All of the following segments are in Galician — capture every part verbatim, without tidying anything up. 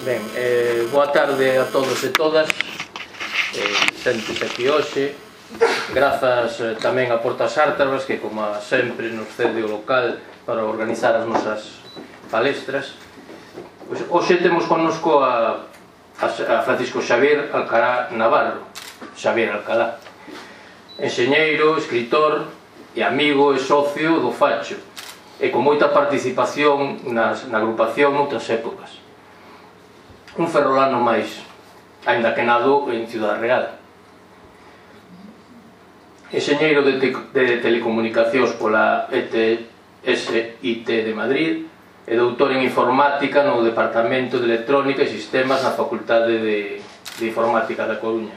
Ben, eh, boa tarde a todos e todas. eh, Sentes aquí hoxe. Grazas eh, tamén a Portas Ártabras, que como sempre nos cede o local para organizar as nosas palestras. Pois, hoxe temos connosco a, a, a Francisco Xavier Alcalá Navarro. Xavier Alcalá, enxeñeiro, escritor e amigo e socio do Facho, e con moita participación nas, na agrupación noutras épocas. Un ferrolano máis, aínda que nado en Ciudad Real. Enxeñeiro de, te, de telecomunicacións pola E T S I T de Madrid e doutor en informática no Departamento de Electrónica e Sistemas na Facultade de, de Informática da Coruña.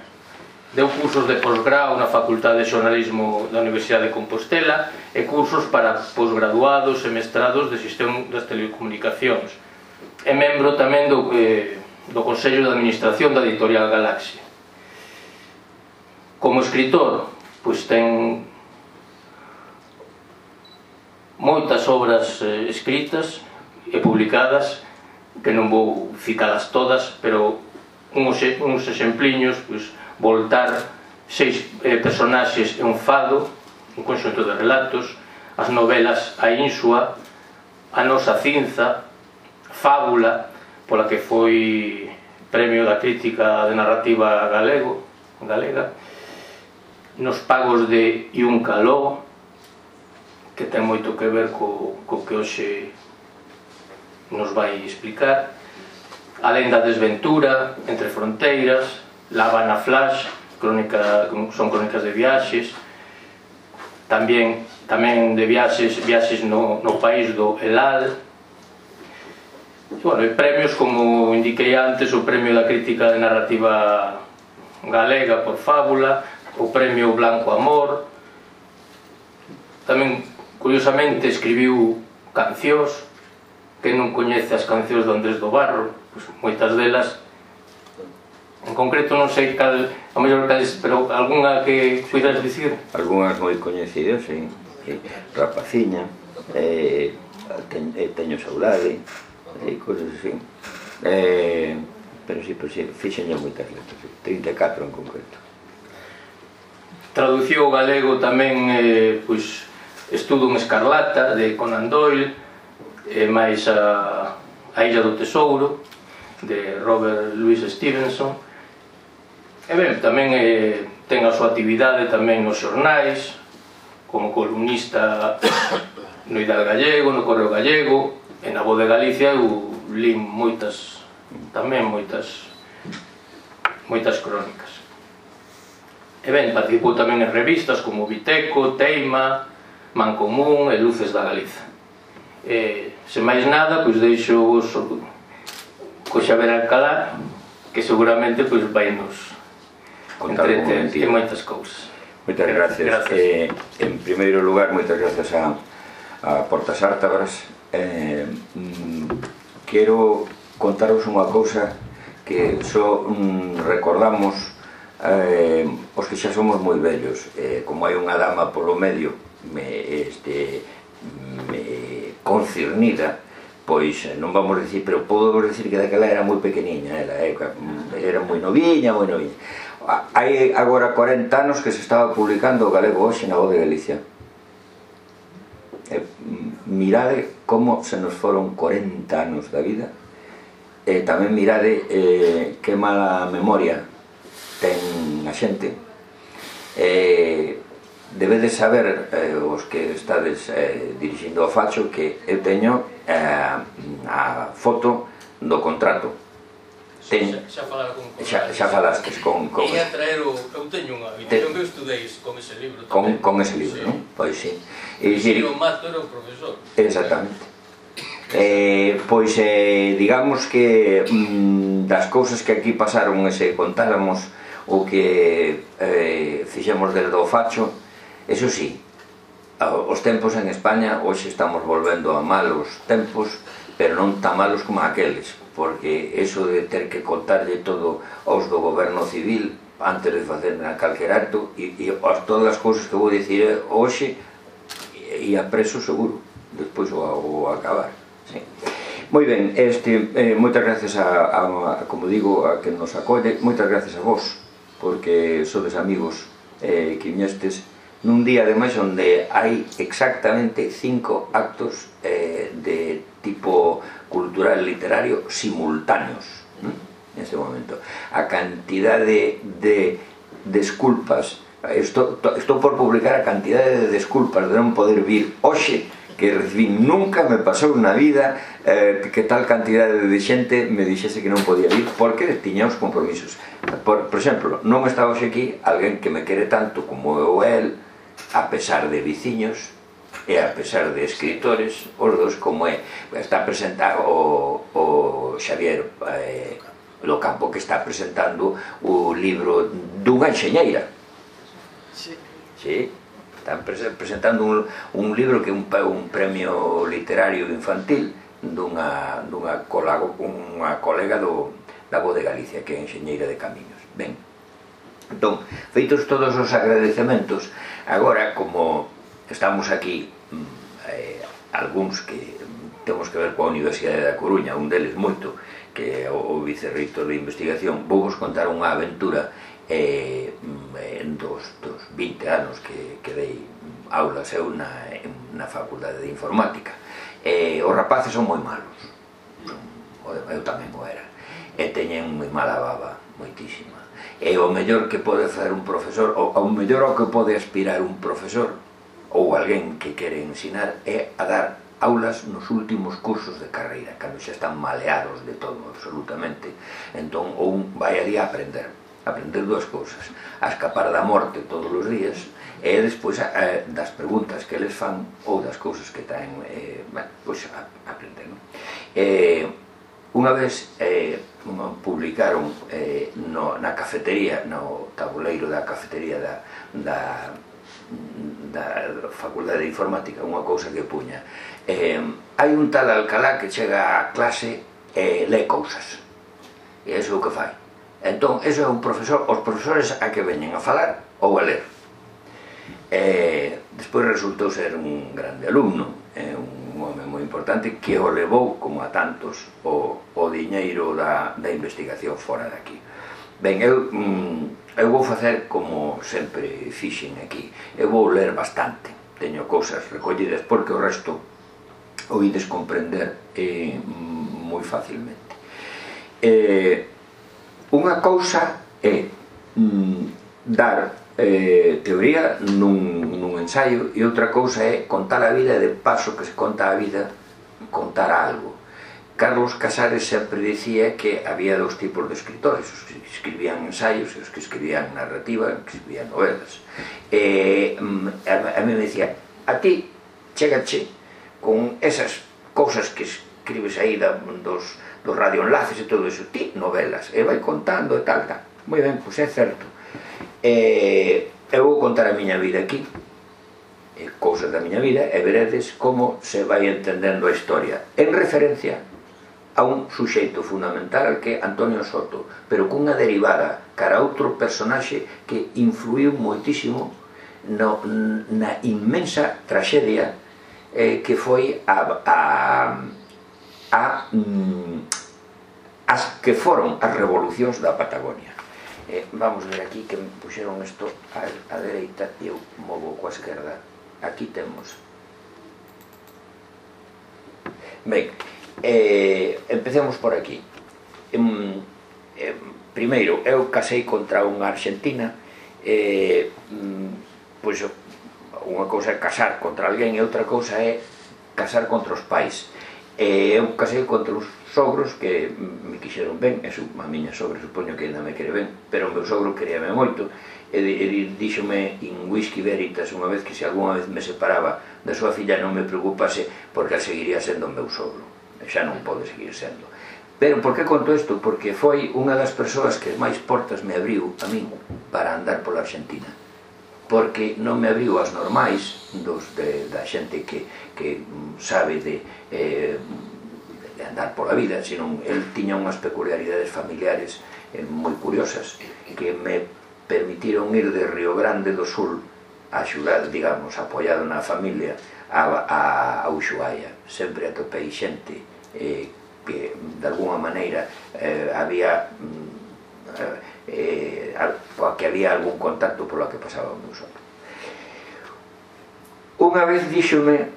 Deu cursos de posgrao na Facultade de Xornalismo da Universidade de Compostela e cursos para posgraduados e mestrados de Sistema das Telecomunicacións. É membro tamén do, eh, do Consello de Administración da Editorial Galaxia. Como escritor, pois ten moitas obras eh, escritas e publicadas, que non vou citalas todas, pero uns, uns exempliños, pois, Voltar, seis eh, personaxes e un fado, un conxunto de relatos, as novelas A Ínsua, A Nosa Cinza, Fábula, pola que foi premio da crítica de narrativa galego, galega, Nos pagos de Iun Caló, que ten moito que ver co, co que hoxe nos vai explicar, A Lenda Desventura, Entre Fronteiras, La Habana Flash, crónica, son crónicas de viaxes, tamén, tamén de viaxes, viaxes no, no país do Elal. E, bueno, e premios, como indiquei antes, o premio da crítica de narrativa galega por Fábula, o premio Blanco Amor. Tamén, curiosamente, escribiu cancións. Que non coñece as cancións de Andrés do Barro, pois, moitas delas. En concreto non sei cal, a mellor cales, pero algunha que puidas dicir? Algúnas moi coñecidas, sí. Rapaciña, eh, ten, eh, Teño saudade, e cousas así. Eh, pero sí, pero sí, fixenlle moitas letras, sí. trinta e catro en concreto. Traduciu o galego tamén, eh, pois, Estudo en Escarlata, de Conan Doyle, e máis a, a Illa do Tesouro, de Robert Louis Stevenson. E ben, tamén eh, ten a súa actividade tamén nos xornais, como columnista no Ideal Gallego, no Correo Gallego, e na Voz de Galicia eu li moitas, tamén moitas, moitas crónicas. E ben, participou tamén en revistas como Viteco, Teima, Mancomún e Luces da Galiza. E, sen máis nada, pois deixo vos co Xavier Alcalá, que seguramente pois vai nos entreter en moitas cousas. Moitas gracias. gracias. Eh, en primeiro lugar, moitas gracias a, a Portas Ártabras. Eh, mm, quero contaros unha cousa que só mm, recordamos eh, os que xa somos moi vellos. Eh, como hai unha dama polo medio me, este, me concernida, pois non vamos dicir, pero podo dicir que daquela era moi pequeniña, era, era moi noviña, moi noviña. Hai agora cuarenta anos que se estaba publicando o galego hoxe na Voz de Galicia. E, mirade como se nos foron cuarenta anos da vida, e tamén mirade eh, que mala memoria ten a xente. E, debedes saber, eh, os que estades eh, dirixindo o Facho, que eu teño eh, a foto do contrato. Ten, xa, xa falara con xa, xa falastes con, con e a traer o, eu teño unha habitación que eu estudeis con ese libro con, tamén. con ese libro, sí. Non? Pois sí. E dicir, o Mato era o profesor. Exactamente. Eh, pois eh, digamos que mm, das cousas que aquí pasaron e se contáramos o que eh, fixemos desde o Facho, eso sí, os tempos en España hoxe estamos volvendo a malos tempos, pero non tan malos como aqueles, porque eso de ter que contarlle todo aos do goberno civil antes de facer calquer acto, e, e todas as cousas que vou dicir hoxe ia preso seguro, despois o, o acabar, sí. Moi ben, este, eh, moitas gracias a, a, a, como digo, a que nos acolle, moitas gracias a vos, porque sodes amigos eh, que viñestes nun día ademais onde hai exactamente cinco actos eh, de tipo cultural e literario simultáneos, ¿no? Neste momento. A cantidade de desculpas, estou, estou por publicar a cantidade de desculpas de non poder vir hoxe que recibí, nunca me pasou na vida eh, que tal cantidade de xente me dixese que non podía vir porque tiña os compromisos. Por, por exemplo, non estaba hoxe aquí alguén que me quere tanto como eu el, a pesar de viciños e a pesar de escritores, os dos, como é, está presentado o, o Xavier eh, Locampo, que está presentando o libro dunha enxeñeira. Sí. Sí, están presentando un, un libro que é un, un premio literario infantil dunha, dunha, colago, unha colega do, da Voz de Galicia, que é enxeñeira de camiños. Ben, entón, feitos todos os agradecementos, agora, como estamos aquí, eh, algúns que temos que ver coa Universidade da Coruña, un deles moito, que é o vicerreitor de investigación, vou vos contar unha aventura eh, en dos, dos vinte anos que, que dei aulas eu na, na Facultade de Informática. Eh, os rapaces son moi malos, son, eu tamén o era, e teñen moi mala baba, moitísima. E o mellor que pode facer un profesor, ou o mellor ao que pode aspirar un profesor, ou alguén que quere ensinar, é a dar aulas nos últimos cursos de carreira, cando xa están maleados de todo, absolutamente. Entón, un vai ali a aprender, a aprender dúas cousas, a escapar da morte todos os días, e despois a, a, das preguntas que eles fan, ou das cousas que traen, eh, bueno, pois a, a aprender, non? Eh, unha vez eh, publicaron eh, no, na cafetería, no tabuleiro da cafetería da, da da Facultade de Informática, unha cousa que puña, eh, hai un tal Alcalá que chega á clase e lé cousas, e iso é o que fai. Entón, iso é un profesor, os profesores a que veñen a falar ou a ler. Eh, despois resultou ser un grande alumno, eh, un home moi importante que o levou, como a tantos, o, o diñeiro da, da investigación fora daqui. Ben, eu... Mm, eu vou facer como sempre fixen aquí, eu vou ler bastante, teño cousas recollidas porque o resto o ides comprender eh, moi facilmente. Eh, unha cousa é mm, dar eh, teoría nun, nun ensaio e outra cousa é contar a vida e de paso que se conta a vida, contar algo. Carlos Casares sempre dicía que había dous tipos de escritores, os que escribían ensaios e os que escribían narrativa, que escribían novelas. E a mí me dicía, a ti, chégache con esas cousas que escribes aí dos, dos radioenlaces e todo iso, ti novelas, e vai contando e tal, tal. Moi ben, pois é certo. E eu vou contar a miña vida aquí, cousas da miña vida, e veredes como se vai entendendo a historia, en referencia a un suxeito fundamental que é Antonio Soto, pero cunha derivada cara a outro personaxe que influiu moitísimo no, na inmensa traxedia eh, que foi a, a, a, as que foron as revolucións da Patagonia. Eh, vamos ver aquí que me puxeron isto a, a dereita e eu movo coa esquerda. Aquí temos. Ben, Eh, empecemos por aquí. em, eh, Primeiro, eu casei contra unha argentina, eh, pois unha cousa é casar contra alguén e outra cousa é casar contra os pais. eh, Eu casei contra os sogros que me quixeron ben, e a miña sogra supoño que ainda me quere ben, pero o meu sogro queríame moito, e, e díxome in whisky veritas unha vez que se algunha vez me separaba da súa filla non me preocupase porque a seguiría sendo o meu sogro, xa non pode seguir sendo. Pero por que conto isto? Porque foi unha das persoas que máis portas me abriu a min para andar pola Argentina, porque non me abriu as normais dos, de, da xente que, que sabe de, eh, de andar pola vida, senón el tiña unhas peculiaridades familiares eh, moi curiosas que me permitiron ir de Río Grande do Sul a axudar, digamos, apoiado na familia a, a, a Ushuaia. Sempre atopei xente eh, que de alguna maneira había que había algún contacto polo que pasaba o meu soto. Unha vez díxome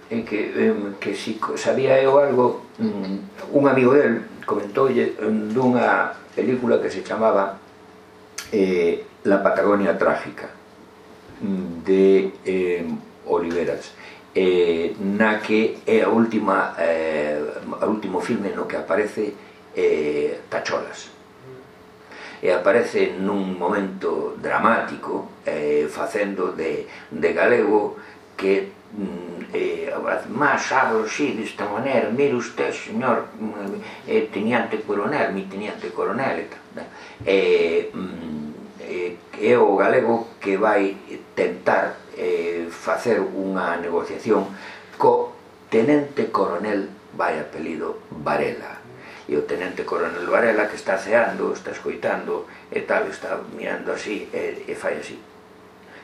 que si sabía eu algo, un amigo del comentoulle dunha película que se chamaba La Patagonia Trágica, de Oliveras, na que é o último filme no que aparece Tacholas, e aparece nun momento dramático facendo de galego, que mas sabe así desta maneira: mire usted, señor teniente coronel, mi teniente coronel, é o galego que vai tentar facer unha negociación co tenente coronel, vai apelido Varela, e o tenente coronel Varela, que está ceando, está escoitando e tal, está mirando así e fai así,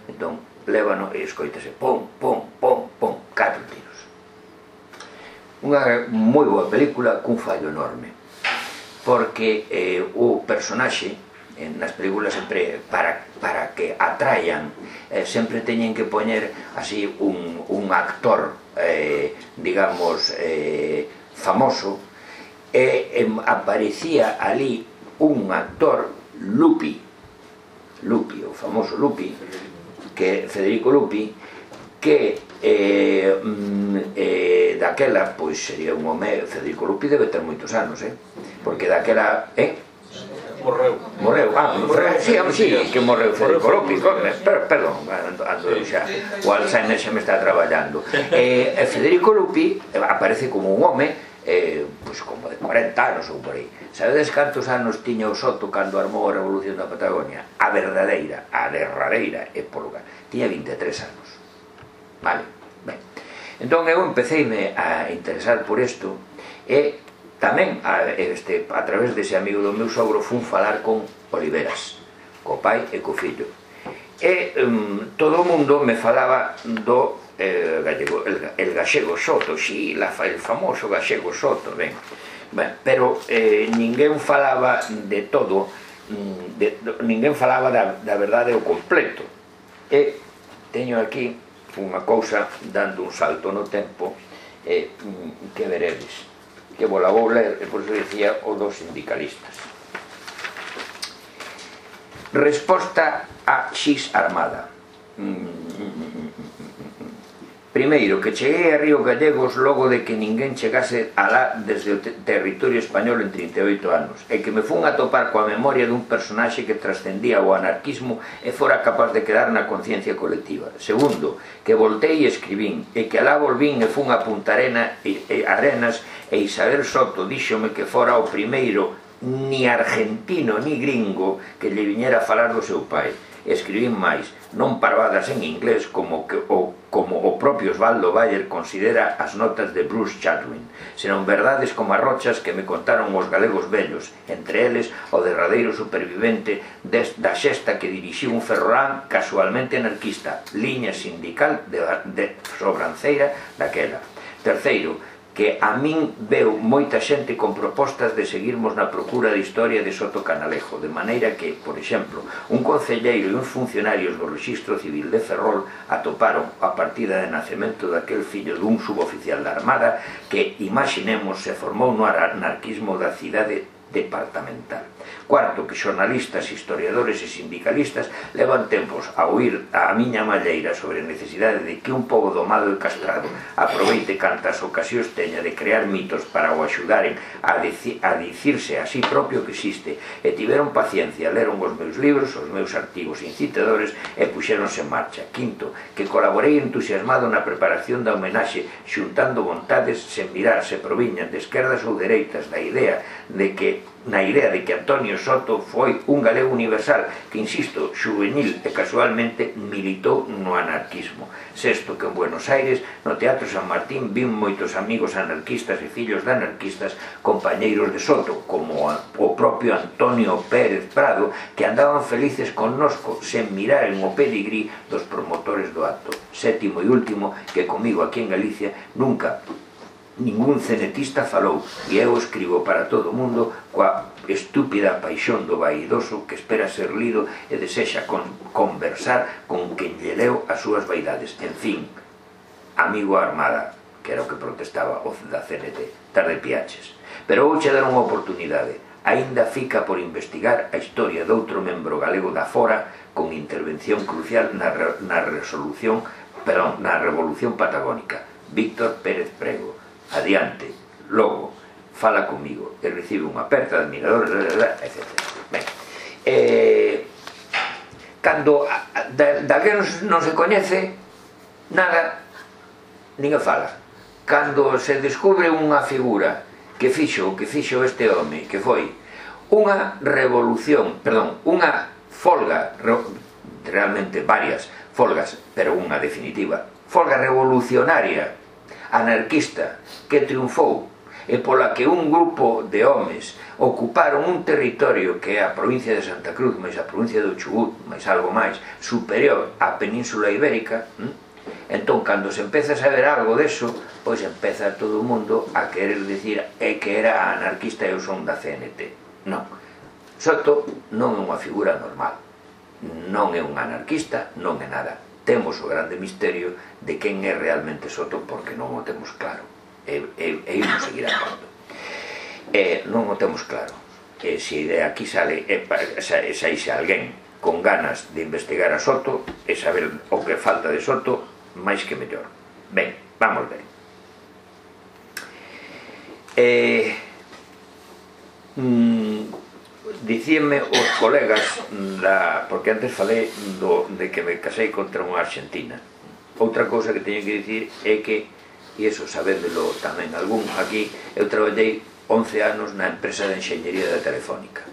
entón lévano e escoitase pom, pom, pom, pom, catro tiros. Unha moi boa película cun fallo enorme, porque o personaxe nas películas sempre, para que atraian, sempre teñen que poñer así un actor, digamos, famoso, e aparecía ali un actor, Lupi, Lupi, o famoso Lupi, que Federico Lupi, que daquela, pois sería un home, Federico Lupi debe ter moitos anos, porque daquela, eh? Morreu. Morreu, ah, sí, sí, que morreu Federico Lupi, perdón, ando xa, o Alzheimer xa me está traballando. Federico Lupi aparece como un home, pois como de cuarenta anos ou por aí. Sabedes cantos anos tiña o Soto cando armou a Revolución da Patagonia? A verdadeira, a derradeira época, tiña vinte e tres anos. Vale, ben. Entón eu empeceime a interesar por isto, e tamén a través dese amigo do meu sogro fun falar con Oliveras, co pai e co fillo, e todo o mundo me falaba do gallego, el gallego Soto, si, el famoso gallego Soto, ben, pero ninguén falaba de todo, ninguén falaba da verdade ao completo. E teño aquí unha cousa dando un salto no tempo que veredes, que vos la vou ler, e por iso dicía o dos sindicalistas. Resposta a X Armada. Primeiro, que cheguei a Río Gallegos logo de que ninguén chegase alá desde o territorio español en trinta e oito anos, e que me fun a topar coa memoria dun personaxe que trascendía o anarquismo e fora capaz de quedar na conciencia colectiva. Segundo, que voltei e escribín, e que alá volvín e fun a Punta Arena e Arenas, e Isabel Soto díxome que fora o primeiro ni argentino ni gringo que lle viñera a falar do seu pai. Escribín máis, non parvadas en inglés como o propio Osvaldo Bayer considera as notas de Bruce Chatwin, senón verdades como as rochas que me contaron os galegos vellos, entre eles o derradeiro supervivente da xesta que dirixiu un ferrolán casualmente anarquista, liña sindical de sobranceira daquela. Terceiro, que a min veu moita xente con propostas de seguirmos na procura de historia de Soto Canalejo, de maneira que, por exemplo, un concelleiro e uns funcionarios do Rexistro Civil de Ferrol atoparon a partida de nacemento daquel fillo dun suboficial da Armada que, imaginemos, se formou no anarquismo da cidade departamental. Cuarto, que xornalistas, historiadores e sindicalistas levan tempos a oír a miña malleira sobre a necesidade de que un pobo domado e castrado aproveite cantas ocasións teña de crear mitos para o axudaren a dicirse a sí propio que existe, e tiveron paciencia, leron os meus libros, os meus artigos incitadores e puxéronse en marcha. Quinto, que colaborei entusiasmado na preparación da homenaxe, xuntando vontades sen mirar se proviñan de esquerdas ou dereitas, da idea de que na idea de que Antonio Soto foi un galego universal que, insisto, juvenil e casualmente militou no anarquismo. Sexto, que en Buenos Aires, no Teatro San Martín, vin moitos amigos anarquistas e fillos de anarquistas compañeiros de Soto, como o propio Antonio Pérez Prado, que andaban felices connosco sen mirar en o pedigrí dos promotores do acto. Sétimo e último, que comigo aquí en Galicia nunca ningún cenetista falou, e eu escribo para todo o mundo coa estúpida paixón do vaidoso que espera ser lido e desexa con, conversar con quen lle leu as súas vaidades. En fin, amigo Armada, que era o que protestaba o da C N T, tarde piaches. Pero vouche dar unha oportunidade. Aínda fica por investigar a historia de outro membro galego da fora con intervención crucial na, re, na resolución, perdón, na Revolución Patagónica, Víctor Pérez Prego. Adiante, logo, fala comigo e recibe unha aperta de admiradores, etcétera. Ben, eh, cando da, da que non se coñece nada, ninguén fala. Cando se descubre unha figura que fixo o que fixo este home, que foi unha revolución, perdón, unha folga, realmente varias folgas, pero unha definitiva, folga revolucionaria, anarquista, que triunfou, e pola que un grupo de homes ocuparon un territorio que é a provincia de Santa Cruz, máis a provincia do Chubut, máis algo máis, superior á Península Ibérica. Entón, cando se empeza a saber algo deso, pois empeza todo o mundo a querer dicir é que era anarquista e eu son da C N T. Non. Soto non é unha figura normal. Non é un anarquista, non é nada. Temos o grande misterio de quen é realmente Soto porque non o temos claro. E, e, e imos seguir andando. E non o temos claro. E se de aquí sale, e, e, saíse alguén con ganas de investigar a Soto e saber o que falta de Soto, máis que mellor. Ben, vamos ver. Eh, mm, dicíanme os colegas da, porque antes falei do, de que me casei contra unha argentina. Outra cousa que teño que dicir é que, e iso sabéndelo tamén algún aquí, eu traballei once anos na empresa de enxeñería da Telefónica.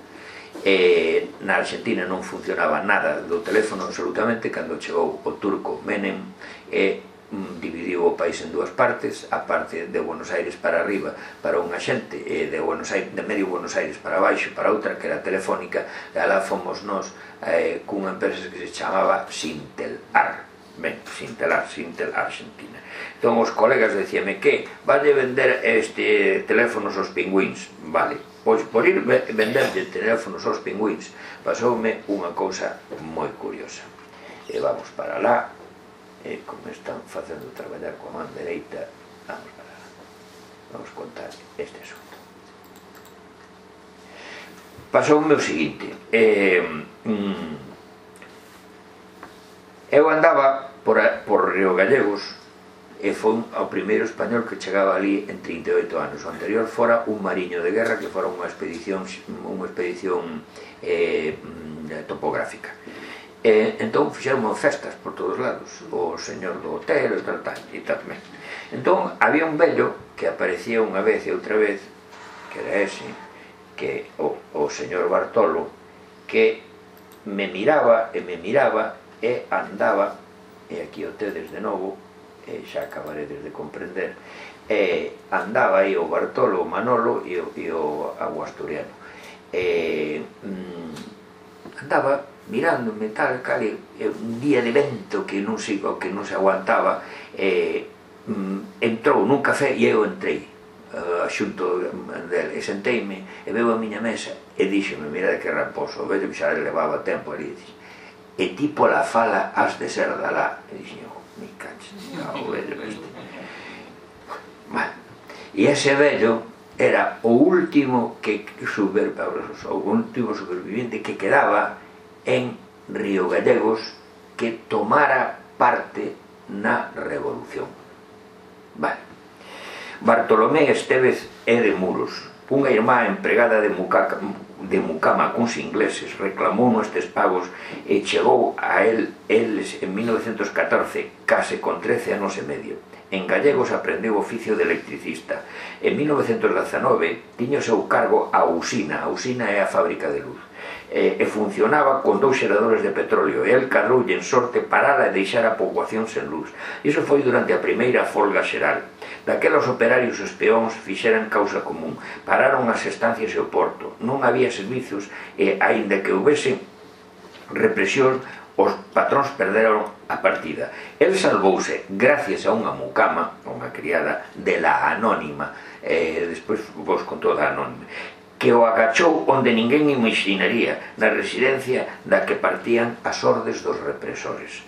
E na Argentina non funcionaba nada do teléfono absolutamente cando chegou o turco Menem e mm, dividiu o país en dúas partes, a parte de Buenos Aires para arriba para unha xente e de, Buenos Aires, de medio Buenos Aires para baixo para outra que era Telefónica, e alá fomos nós eh, cunha empresa que se chamaba Sintelar. Ben, Sintelar, Sintel Argentina. Entón os colegas decíame que valle vender este teléfonos aos pingüins. Vale, pois por ir vender de teléfonos aos pingüins pasoume unha cousa moi curiosa. E vamos para lá, e como están facendo traballar coa man dereita, vamos para lá. Vamos contar este asunto. Pasoume o seguinte, eh, mm, eu andaba por, a, por Río Gallegos e foi o primeiro español que chegaba ali en trinta e oito anos. O anterior fora un mariño de guerra que fora unha expedición unha expedición eh, topográfica. E entón fixeron festas por todos lados, o señor do hotel e tal, tal, e tal. Entón había un vello que aparecía unha vez e outra vez, que era ese, que o, o señor Bartolo, que me miraba e me miraba e andaba, e aquí o tedes de novo, e xa acabaredes de comprender, e andaba aí o Bartolo, o Manolo e o, e o Aguasturiano. E mm, andaba mirándome tal, cal, e un día de vento que non se, que non se aguantaba, e mm, entrou nun café e eu entrei uh, xunto dele, e senteime e veo a miña mesa e díxome, mira que raposo, veio que xa levaba tempo ali, e ti pola fala has de ser da lá. E dixen, me caches, o vello este. Bueno, e ese vello era o último que super, o último superviviente que quedaba en Río Gallegos que tomara parte na revolución. Vale. Bartolomé Estévez é de Muros, unha irmá empregada de Mucaca, de Mucama cuns ingleses, reclamou nestes pagos e chegou a el eles en mil novecientos catorce, case con trece anos e medio. En Gallegos aprendeu oficio de electricista. En mil novecientos dezanove tiño o seu cargo a usina, a usina é a fábrica de luz, e, e funcionaba con dous xeradores de petróleo, e el cadroulle en sorte parara e deixar a poboación sen luz. Iso foi durante a primeira folga xeral. Daquelos operarios os peóns fixeran causa común, pararon as estancias e o porto, non había servizos e, aínda que houbese represión, os patróns perderon a partida. El salvouse gracias a unha mucama, unha criada de la Anónima, eh, despois vos contou da Anónima, que o agachou onde ninguén imaginaría, na residencia da que partían as ordes dos represores.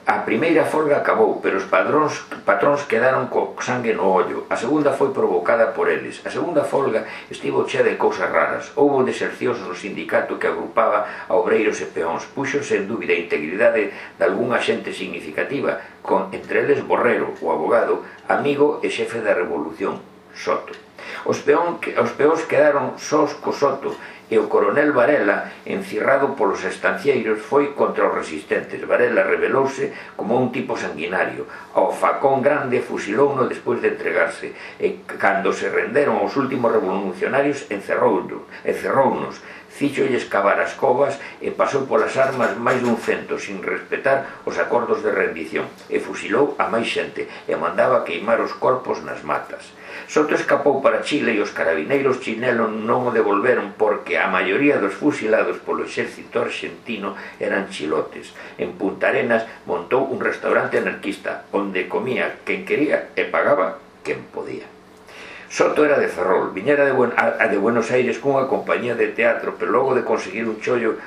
A primeira folga acabou, pero os padróns, patróns quedaron co sangue no ollo. A segunda foi provocada por eles. A segunda folga estivo chea de cousas raras. Houbo desercións no sindicato que agrupaba a obreiros e peóns. Puxose en dúbida a integridade de algunha xente significativa, con entre eles Borrero, o abogado, amigo e xefe da revolución, Soto. Os, peón, os peóns quedaron sós co Soto, e o coronel Varela, encirrado polos estancieiros, foi contra os resistentes. Varela revelouse como un tipo sanguinario. Ao facón grande fusilouno despois de entregarse, e cando se renderon os últimos revolucionarios encerrounos, encerrounos, fíxolles cavar as covas e pasou polas armas máis dun cento sin respetar os acordos de rendición, e fusilou a máis xente e mandaba queimar os corpos nas matas. Soto escapou para Chile e os carabineiros chinelos non o devolveron porque a maioría dos fusilados polo exército argentino eran chilotes. En Punta Arenas montou un restaurante anarquista onde comía quen quería e pagaba quen podía. Soto era de Ferrol, viñera de, Buen, a, a de Buenos Aires cunha compañía de teatro, pero logo de conseguir un chollo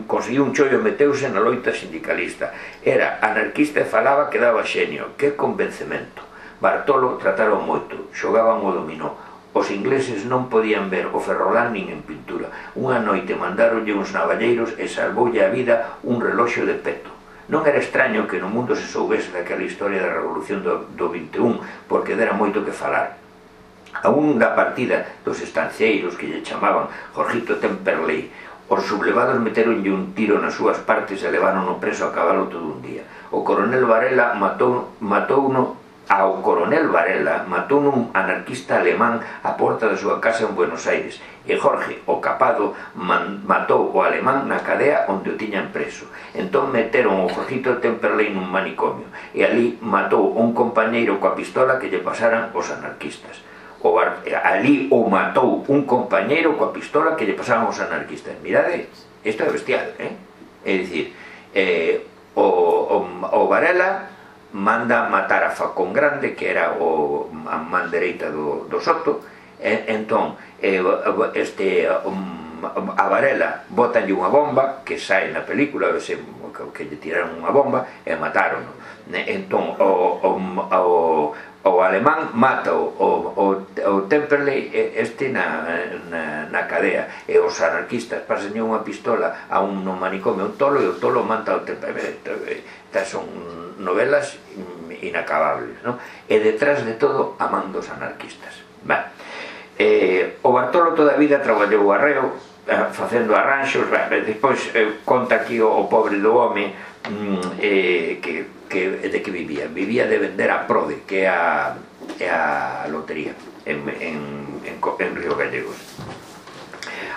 conseguiu un chollo meteuse na loita sindicalista. Era anarquista e falaba que daba xenio. Que convencemento! Bartolo trataron moito, xogaban o dominó. Os ingleses non podían ver o ferrolán nin en pintura. Unha noite mandaronlle uns navalleiros e salvoulle a vida un reloxo de peto. Non era extraño que no mundo se soubese daquela historia da revolución do, do vinte e un, porque dera moito que falar. A un da partida dos estancieiros que lle chamaban Jorgito Temperley, os sublevados meteronlle un tiro nas súas partes e levárono preso a cabalo todo un día. O coronel Varela matou, matou no Ao coronel Varela matou un anarquista alemán á porta da súa casa en Buenos Aires, e Jorge, o capado, man, matou o alemán na cadea onde o tiñan preso. Entón meteron o Jorgito Temperley nun manicomio, e ali matou un compañeiro coa pistola que lle pasaran os anarquistas. O bar, ali o matou un compañeiro coa pistola que lle pasaran os anarquistas. Mirade, isto é bestial, eh? É dicir, eh, o, o, o Varela manda matar a Facón Grande, que era o, a man dereita do, do Soto, e, entón eh, este, um, a Varela botanlle unha bomba que sae na película, ese, que, que lle tiraron unha bomba e mataron. Entón o, o, o, o alemán mata o, o, o Temperley este na, na, na cadea, e os anarquistas pasanlle unha pistola a un manicomio, un tolo, e o tolo mata o Temperley. Son novelas inacabables, ¿no? E detrás de todo a man dos anarquistas. Bah. Eh, o Bartolo toda a vida traballou arreo, eh, facendo arranxos, bah, despois eh, conta aquí o, o pobre do home mm, eh, que, que, de que vivía. Vivía de vender a Prode, que é a, é a lotería en, en, en, en Río Gallegos.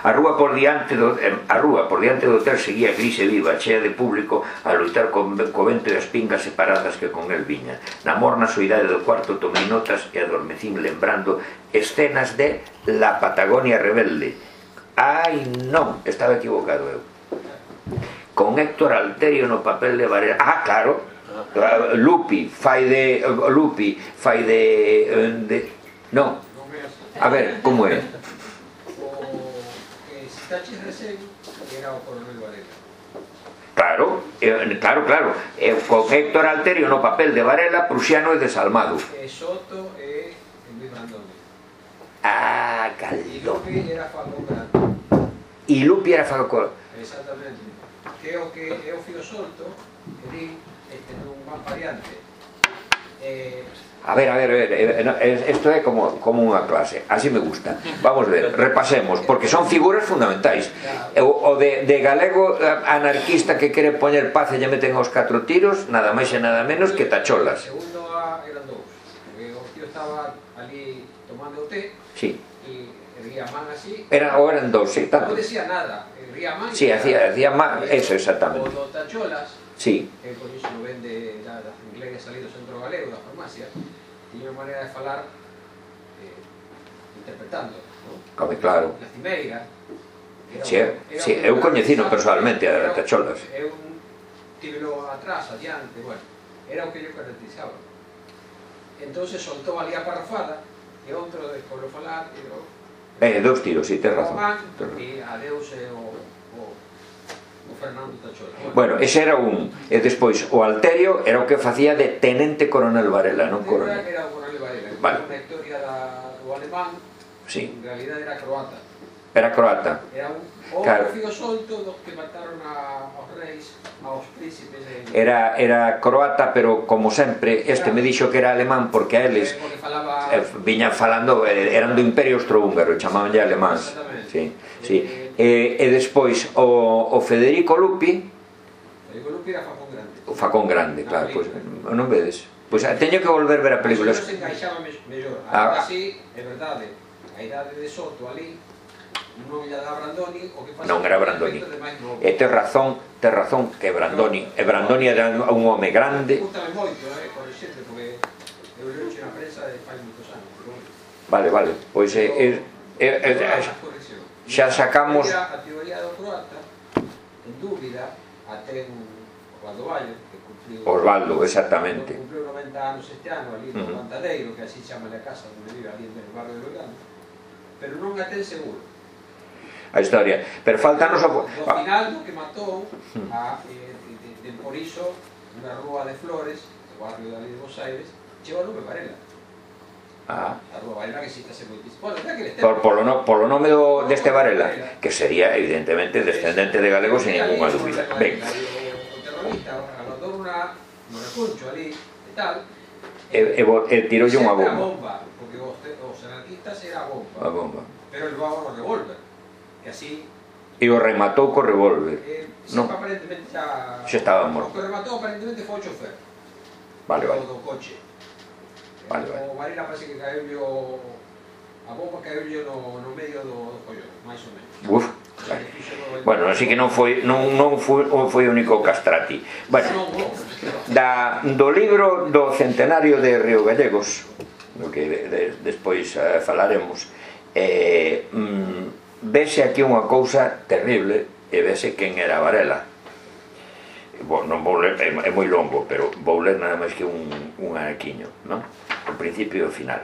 A rúa por diante do, a rúa por diante do hotel seguía gris e viva, chea de público a loitar co, co vento e as pingas separadas que con el viña. Na morna soidade do cuarto tomei notas e adormecín lembrando escenas de La Patagonia Rebelde. Ai, non, estaba equivocado eu. Con Héctor Alterio no papel de Varela. Ah, claro, Lupi fai de Lupi fai de, de non. A ver, como é? Tachis de Sen, que era o coronel Varela. Claro, eh, claro, claro. Eh, con Héctor Alterio no papel de Varela, prusiano e desalmado. E Soto e Luis Brandoni. Ah, E Caldón. Lupi era Facón Grande. E Lupi era Facón. Exactamente. Que é o que é o fío solto, que di, este non van variante. Eh, A ver, a ver, a ver, isto é como, como unha clase, así me gusta. Vamos a ver, repasemos, porque son figuras fundamentais. O, o de, de galego anarquista que quere poñer paz e lle meten aos catro tiros, nada máis e nada menos que Tacholas. Segundo A eran dous, porque o tío estaba ali tomando o té, Sí. e erguía a man así. Era, ou eran dous, sí, tanto. Non decía nada, erguía a man. Sí, hacía, hacía má, eso, exactamente. O do Tacholas, Sí. que por iso lo vende da, da inglés salido do centro galego da farmacia, tiña unha maneira de falar eh, interpretando, ¿no? Come claro. La cimeira, Si, eu coñecino personalmente a Tacholas. Eu tivelo atrás, adiante, bueno, era o que yo caracterizaba. Entonces soltou ali a parrafada, e outro despois lo falar, e o... Eh, dous tiros, si, tes razón. E adeus e o... o Fernando Tacholas. Bueno, ese era un. E despois, o Alterio era o que facía de Tenente Coronel Varela, non Coronel. Era o Coronel Varela, vale. Unha historia do alemán, sí. En realidad era croata. Era croata. Era un o claro. Fío solto dos que mataron a, aos reis, aos príncipes de... Era, era croata, pero como sempre, este claro. Me dixo que era alemán porque a eles porque falaba... eh, viñan falando, eh, eran do Imperio Austrohúngaro, chamaban ya alemáns. Sí, sí. E, e despois o, o Federico Lupi. Federico Lupi era Facón Grande. O Facón Grande, claro, pois pues, non vedes. Pois pues, teño que volver ver a película. Pero se encaixaba mellor. Agora sí, é verdade, a idade de Soto ali non era Brandoni, o que pasa non era Brandoni. E tes razón, tes razón que Brandoni, e Brandoni era un home grande. Gústame moito, eh, por exemplo, porque eu leo na prensa de fai moitos anos. Vale, vale, pois é xa sacamos a teoría do croata en dúbida até Osvaldo Bayo, que cumpliu Osvaldo, exactamente, cumpliu noventa anos este ano ali no Plantadeiro, que así chama a casa onde vive ali no barrio de Belgrano, pero non a ten seguro a historia, pero faltanos o final do que matou a, eh, de, de, por iso unha rúa de Flores, o barrio de ali de Bos Aires, chegou o nome Varela. Ah. A rúa Varela que existe moitísimo. Bueno, que por, polo, no, polo nome do, deste Varela, que sería evidentemente descendente de galego sin ninguna dúbida. Ben. O terrorista alodou unha no recuncho ali e tal, e, e, e tiroulle unha bomba. Porque os anarquistas era a bomba. A bomba. Pero el levaba o revólver. Que así... E o rematou co revólver. Eh, non. Aparentemente xa... Xa estaba morto. O que rematou aparentemente foi o chofer. Vale, vale. Do coche. Vale, vale. O Varela parece que caeulle a bomba caeulle no, no medio do, do follón, máis ou menos. Uf. Vale. Bueno, así que non foi non, non foi, foi o único castrati. Bueno, da, do libro do centenario de Río Gallegos, do que de, de, despois uh, falaremos, eh, mm, vese aquí unha cousa terrible e vese quen era Varela. Bon, non vou ler, é, é moi longo, pero vou ler nada máis que un, un anaquiño, non? O principio e o final.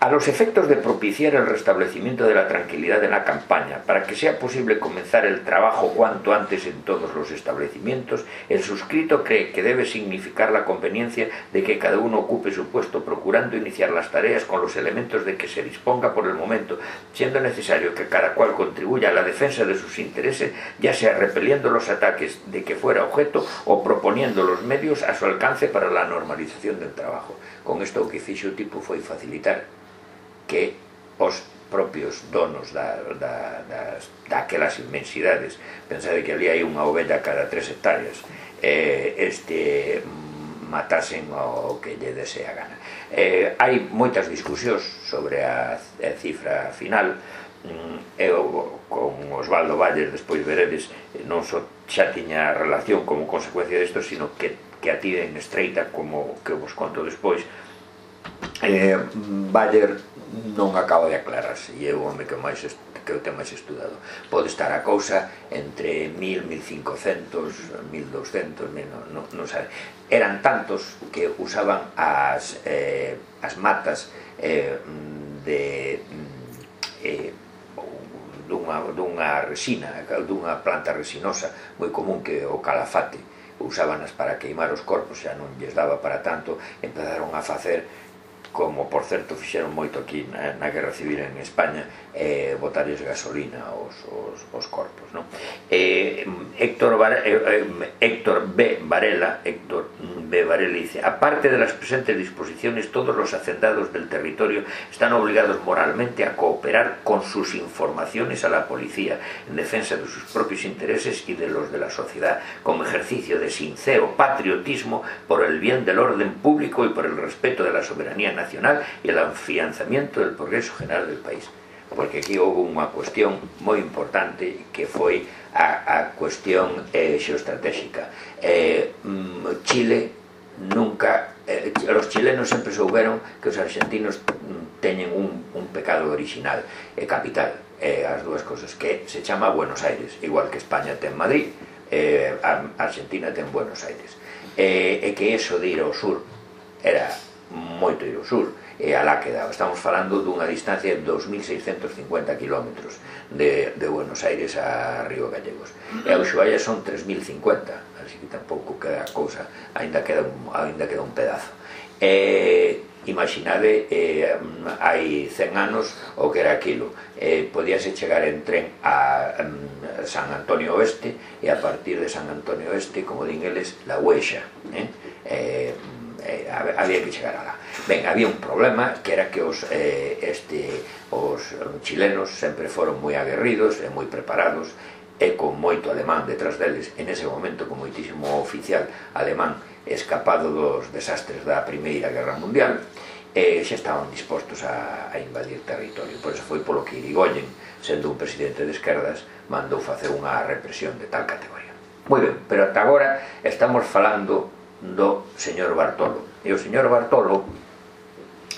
A los efectos de propiciar el restablecimiento de la tranquilidad en la campaña, para que sea posible comenzar el trabajo cuanto antes en todos los establecimientos, el suscrito cree que debe significar la conveniencia de que cada uno ocupe su puesto, procurando iniciar las tareas con los elementos de que se disponga por el momento, siendo necesario que cada cual contribuya a la defensa de sus intereses, ya sea repeliendo los ataques de que fuera objeto o proponiendo los medios a su alcance para la normalización del trabajo. Con esto o que fixo o tipo foi facilitar que os propios donos da, da, das, daquelas inmensidades, pensade que ali hai unha ovella cada tres hectáreas, eh, este matasen o que lle dese a gana. Eh, hai moitas discusións sobre a, a cifra final. Eu con Osvaldo Valles despois veredes non só xa tiña relación como consecuencia desto, sino que, que a tiven estreita, como que vos conto despois. eh, Baller non acaba de aclararse e é o home que máis que eu ten máis estudado. Pode estar a cousa entre mil, mil cincocentos, mil doscentos, mil, non, non sabe. Eran tantos que usaban as, eh, as matas eh, de eh, dunha, dunha resina, dunha planta resinosa moi común, que o calafate. Usábanas para queimar os corpos, xa non lles daba para tanto, empezaron a facer, como por certo fixeron moito aquí na, na Guerra Civil en España, eh, botarles gasolina aos, aos, aos corpos, non? Eh, Héctor, Bar, eh, Héctor B. Varela Héctor B. Varela dice: aparte de las presentes disposiciones, todos los hacendados del territorio están obligados moralmente a cooperar con sus informaciones a la policía en defensa de sus propios intereses y de los de la sociedad, como ejercicio de sincero patriotismo por el bien del orden público y por el respeto de la soberanía nacional nacional y el afianzamiento del progreso general del país. Porque aquí houve unha cuestión moi importante que foi a, a cuestión eh, xeoestratégica. Eh, Chile nunca, eh, los chilenos sempre souberon que os argentinos teñen un, un pecado original e capital, eh, as dúas cosas, que se chama Buenos Aires, igual que España ten Madrid, eh, Argentina ten Buenos Aires, e, e que eso de ir ao sur era moito ir ao sur, e alá quedaba. Estamos falando dunha distancia de dos mil seiscentos cincuenta kilómetros de, de Buenos Aires a Río Gallegos, e a Ushuaia son tres mil cincuenta, así que tampouco queda cousa, ainda queda un, ainda queda un pedazo. E imaginade, eh, hai cen anos o que era aquilo, eh, podíase chegar en tren a um, San Antonio Oeste, e a partir de San Antonio Oeste, como din eles, la Huexa, eh? Eh, eh, había que chegar alá. Ben, había un problema, que era que os, eh, este, os chilenos sempre foron moi aguerridos e moi preparados, e con moito alemán detrás deles, en ese momento con moitísimo oficial alemán escapado dos desastres da Primeira Guerra Mundial, e xa estaban dispostos a, a invadir territorio. Por eso foi polo que Irigoyen, sendo un presidente de esquerdas, mandou facer unha represión de tal categoría. Moi ben, pero ata agora estamos falando do señor Bartolo, e o señor Bartolo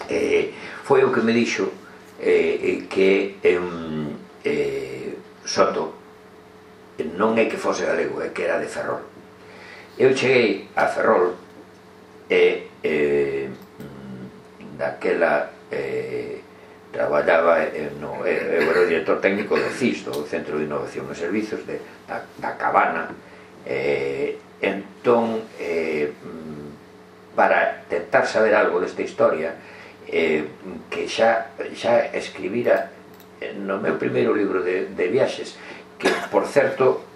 eh, foi o que me dixo eh, que eh, eh, Soto non é que fose galego, é que era de Ferrol. Eu cheguei a Ferrol e eh, daquela eh, traballaba no, eu era o director técnico do C I S, do Centro de Innovación e Servizos de, da, da Cabana, eh, entón eh, para tentar saber algo desta historia, eh, que xa, xa escribira no meu primeiro libro de, de viaxes, que por certo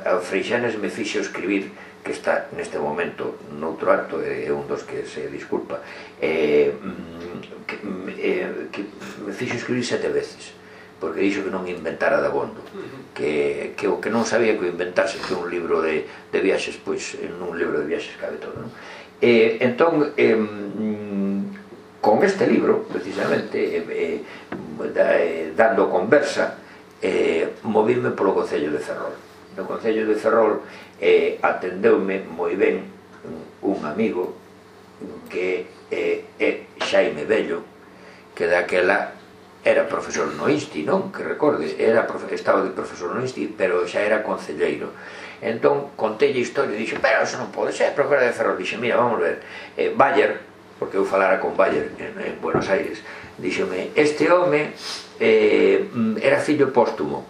a Freixanes me fixo escribir, que está neste momento noutro acto, é un dos que se disculpa, eh, que, eh, que me fixo escribir sete veces, porque dixo que non inventara dabondo, que, que o que non sabía que o inventase, que un libro de, de viaxes, pois en un libro de viaxes cabe todo, non? Eh, entón, eh, con este libro, precisamente, eh, eh, dando conversa, eh, movíme polo Concello de Ferrol. No Concello de Ferrol eh, atendeume moi ben un amigo que é eh, Xaime Bello, que daquela era profesor no I S T I, non? Que recorde, era, estaba de profesor no I S T I, pero xa era concelleiro. Entón, contei a historia e dixo, pero eso non pode ser, pero que era de Ferrol. Dixe, mira, vamos ver, eh, Bayer, porque eu falara con Bayer en, en Buenos Aires, díxome, este home eh, era fillo póstumo,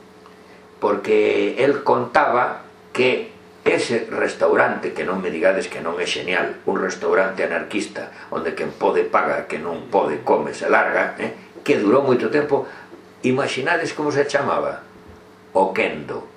porque el contaba que ese restaurante, que non me digades que non é genial, un restaurante anarquista onde quen pode paga, que non pode come, se larga, eh, que durou moito tempo. Imaginades como se chamaba? O Kendo.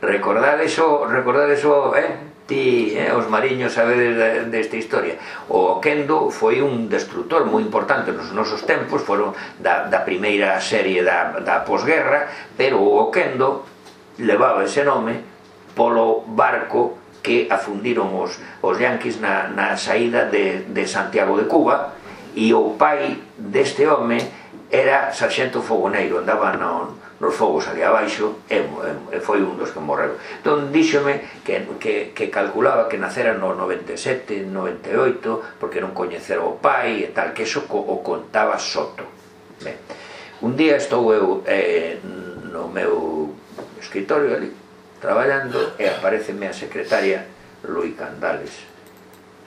Recordades o, recordades o, eh, ti, eh, os mariños sabedes desta historia. O Kendo foi un destructor moi importante nos nosos tempos, foron da, da primeira serie da, da posguerra, pero o Kendo levaba ese nome polo barco que afundiron os, os yanquis na, na saída de, de Santiago de Cuba, e o pai deste home era sarxento fogoneiro, andaba no, nos fogos ali abaixo, e, e foi un dos que morreu. Entón díxome que, que, que calculaba que nacera no noventa e sete, noventa e oito, porque non coñecera o pai e tal, que eso o contaba Soto. Ben, un día estou eu eh, no meu escritorio ali, traballando, e apareceme a secretaria Lui Candales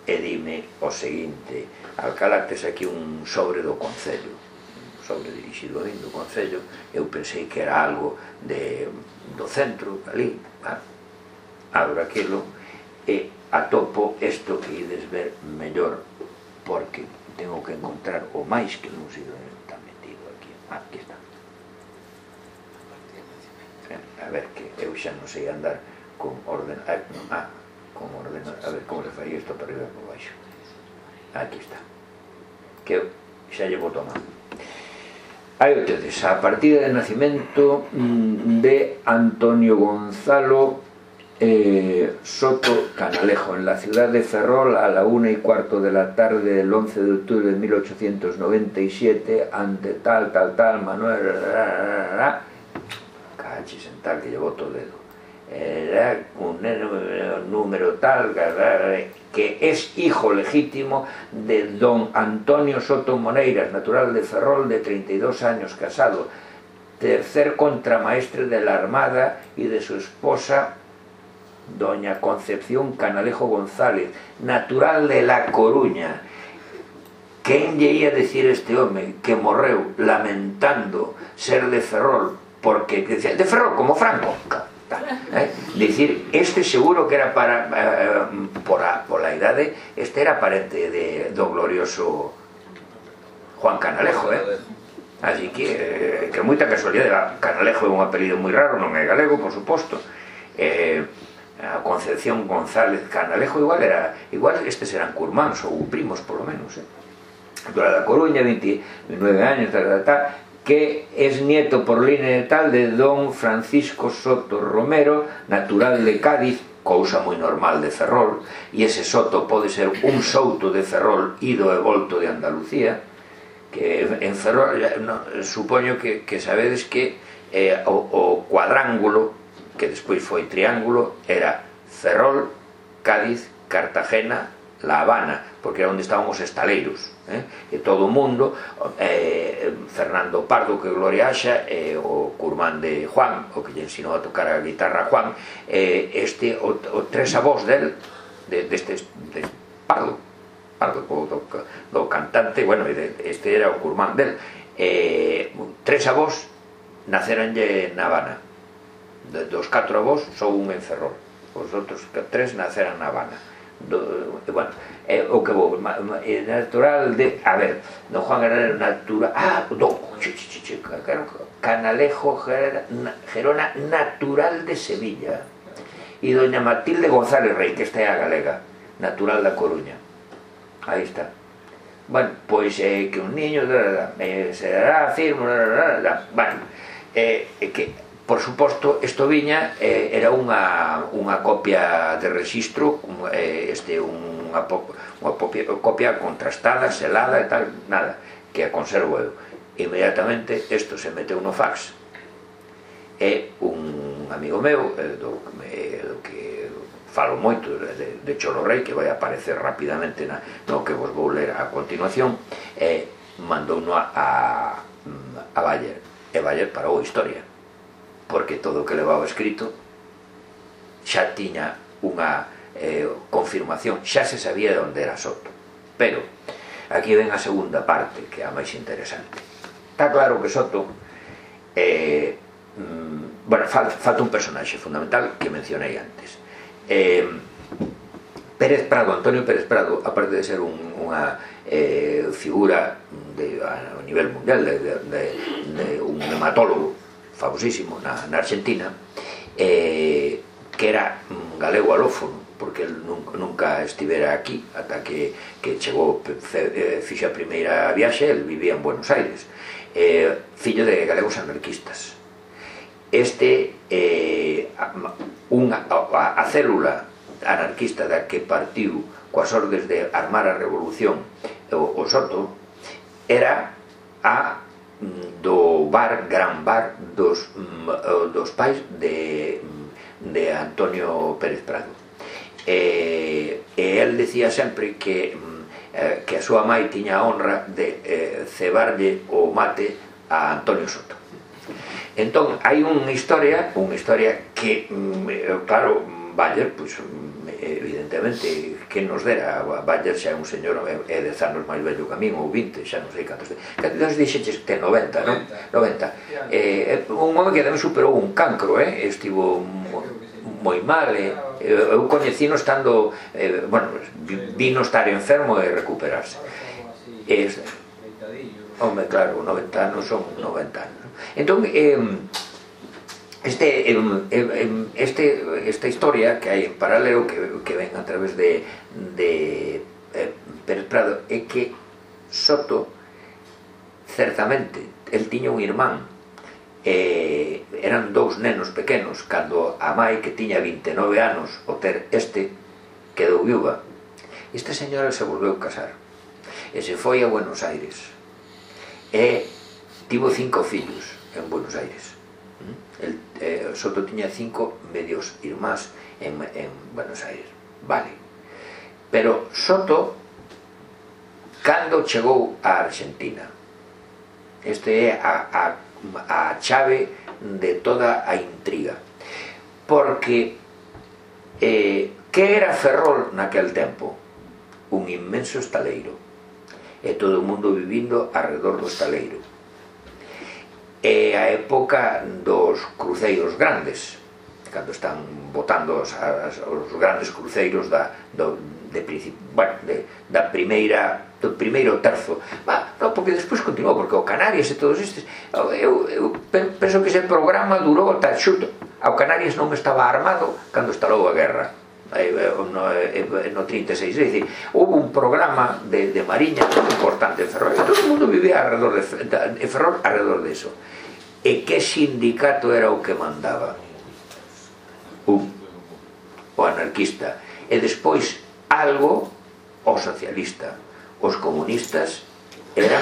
e dime o seguinte: alcalactes aquí un sobre do Concello, un sobre dirixido a min do Concello. Eu pensei que era algo de, do centro, ali, ah, abro aquilo e atopo isto que ides ver mellor, porque tengo que encontrar o máis que non sei onde está metido aquí. Ah, aquí está. A ver, que eu xa non sei andar con orden... Ah, con orden... A ver, como se fai isto para arriba e para baixo. Aquí está. Que eu xa lle boto a man. Aí o tedes, a partida de nacimento de Antonio Gonzalo eh, Soto Canalejo, en la ciudad de Ferrol, a la una y cuarto de la tarde del once de octubre de mil ochocientos noventa y siete, ante tal, tal, tal, Manuel... Cachis en tal, que llevó todo el dedo. Era un número tal, que es hijo legítimo de don Antonio Soto Moneiras, natural de Ferrol, de treinta y dos años, casado, tercer contramaestre de la Armada y de su esposa doña Concepción Canalejo González, natural de La Coruña. Quen lle ia decir este home que morreu lamentando ser de Ferrol, porque decía, de Ferrol como Franco, eh? Dicir, este seguro que era para eh, por, a, por la idade, este era parente de, do glorioso Juan Canalejo, eh? Así que, eh, que moita casualidade. Canalejo é un apelido moi raro, non é galego, por suposto. Eh, a Concepción González Canalejo igual era, igual estes eran curmáns ou primos, polo menos, eh? Dora da Coruña, veintinueve años, tal, tal, tal, que es nieto por línea de tal de don Francisco Soto Romero, natural de Cádiz, cousa moi normal de Ferrol, e ese Soto pode ser un souto de Ferrol ido e volto de Andalucía, que en Ferrol, no, supoño que, que sabedes que eh, o, o cuadrángulo, que despois foi triángulo, era Ferrol, Cádiz, Cartagena, La Habana, porque era onde estaban os estaleiros, eh? E todo o mundo, eh, Fernando Pardo, que gloria haxa, eh, o curmán de Juan, o que lle ensinou a tocar a guitarra a Juan, eh, este, o, o tres avós del, de, deste de Pardo, Pardo, do, do cantante, bueno, este era o curmán del, eh, tres avós naceranlle na Habana, de, dos catro avós só un en Ferrol, os outros tres naceran na Habana. Do, bueno, eh, o que vou eh, natural de, a ver, don Juan era natural, ah, do, ch, ch, ch, ch, Canalejo Gerona, natural de Sevilla, e doña Matilde González Rey, que esta é a galega, natural da Coruña. Aí está. Bueno, pois eh, que un niño eh, se dará firme, bueno, eh, que por suposto, isto viña, eh, era unha, unha copia de registro, eh, este, unha, unha copia, copia contrastada, selada e tal, nada, que a conservo eu. Inmediatamente, isto se meteu no fax, e un amigo meu, eh, do, eh, do que falo moito, de, de Cholo Rey, que vai aparecer rapidamente na, no que vos vou ler a continuación, eh, mandou no a, a, a Bayer, e Bayer parou a historia, porque todo o que levaba escrito xa tiña unha eh, confirmación, xa se sabía de onde era Soto. Pero aquí ven a segunda parte, que é a máis interesante. Está claro que Soto eh, mm, bueno, falta, falta un personaxe fundamental que mencionei antes. eh, Pérez Prado, Antonio Pérez Prado, aparte de ser un, unha eh, figura de, a nivel mundial, de, de, de, de un hematólogo famosísimo na, na Argentina, eh, que era un galego alófono, porque el nunca, nunca estivera aquí ata que, que chegou, fe, fixe a primeira viaxe, el vivía en Buenos Aires, eh, fillo de galegos anarquistas. Este eh, unha, a, a célula anarquista da que partiu coas ordes de armar a revolución o, o Soto era a do bar, gran bar dos, dos pais de, de Antonio Pérez Prado, e, e el decía sempre que, eh, que a súa mãe tiña a honra de eh, cebarlle o mate a Antonio Soto. Entón, hai unha historia unha historia que, claro, Bayer, pois, evidentemente, que nos dera, Bayer xa é un señor, é dez anos máis vello que a min, ou vinte, xa non sei cantos, cantos dixeches que ten noventa, non? noventa. Eh, un home que tamén superou un cancro, eh? Estivo moi mal, eh? Eu coñecino estando, eh, bueno, vino estar enfermo e recuperarse. Eh, home, claro, noventa anos son noventa anos. Entón, eh, Este, este, esta historia que hai en paralelo, que, que ven a través de, de eh, Pérez Prado, é que Soto, certamente, el tiña un irmán, eh, eran dous nenos pequenos, cando a mãe, que tiña vinte e nove anos, o ter este, quedou viúva. Esta señora se volveu casar, e se foi a Buenos Aires, e tivo cinco fillos en Buenos Aires. El, eh, Soto tiña cinco medios irmás en, en Buenos Aires, vale, pero Soto, cando chegou a Argentina, este é a, a a chave de toda a intriga, porque eh, que era Ferrol naquel tempo? Un inmenso estaleiro, e todo o mundo vivindo arredor do estaleiro. É a época dos cruceiros grandes, cando están botando os, as, os grandes cruceiros da, do, de, bueno, de, da primeira, do primeiro terzo. Bah, no, porque despois continuou, porque o Canarias e todos estes, eu, eu penso que ese programa durou ata xuto. O Canarias non estaba armado cando estalou a guerra, no, no trinta e seis, é dicir, houve un programa de, de mariña importante en Ferrol, e todo o mundo vivía alrededor de, de Ferrol alrededor de eso. E que sindicato era o que mandaba? Un, o anarquista, e despois algo o socialista. Os comunistas eran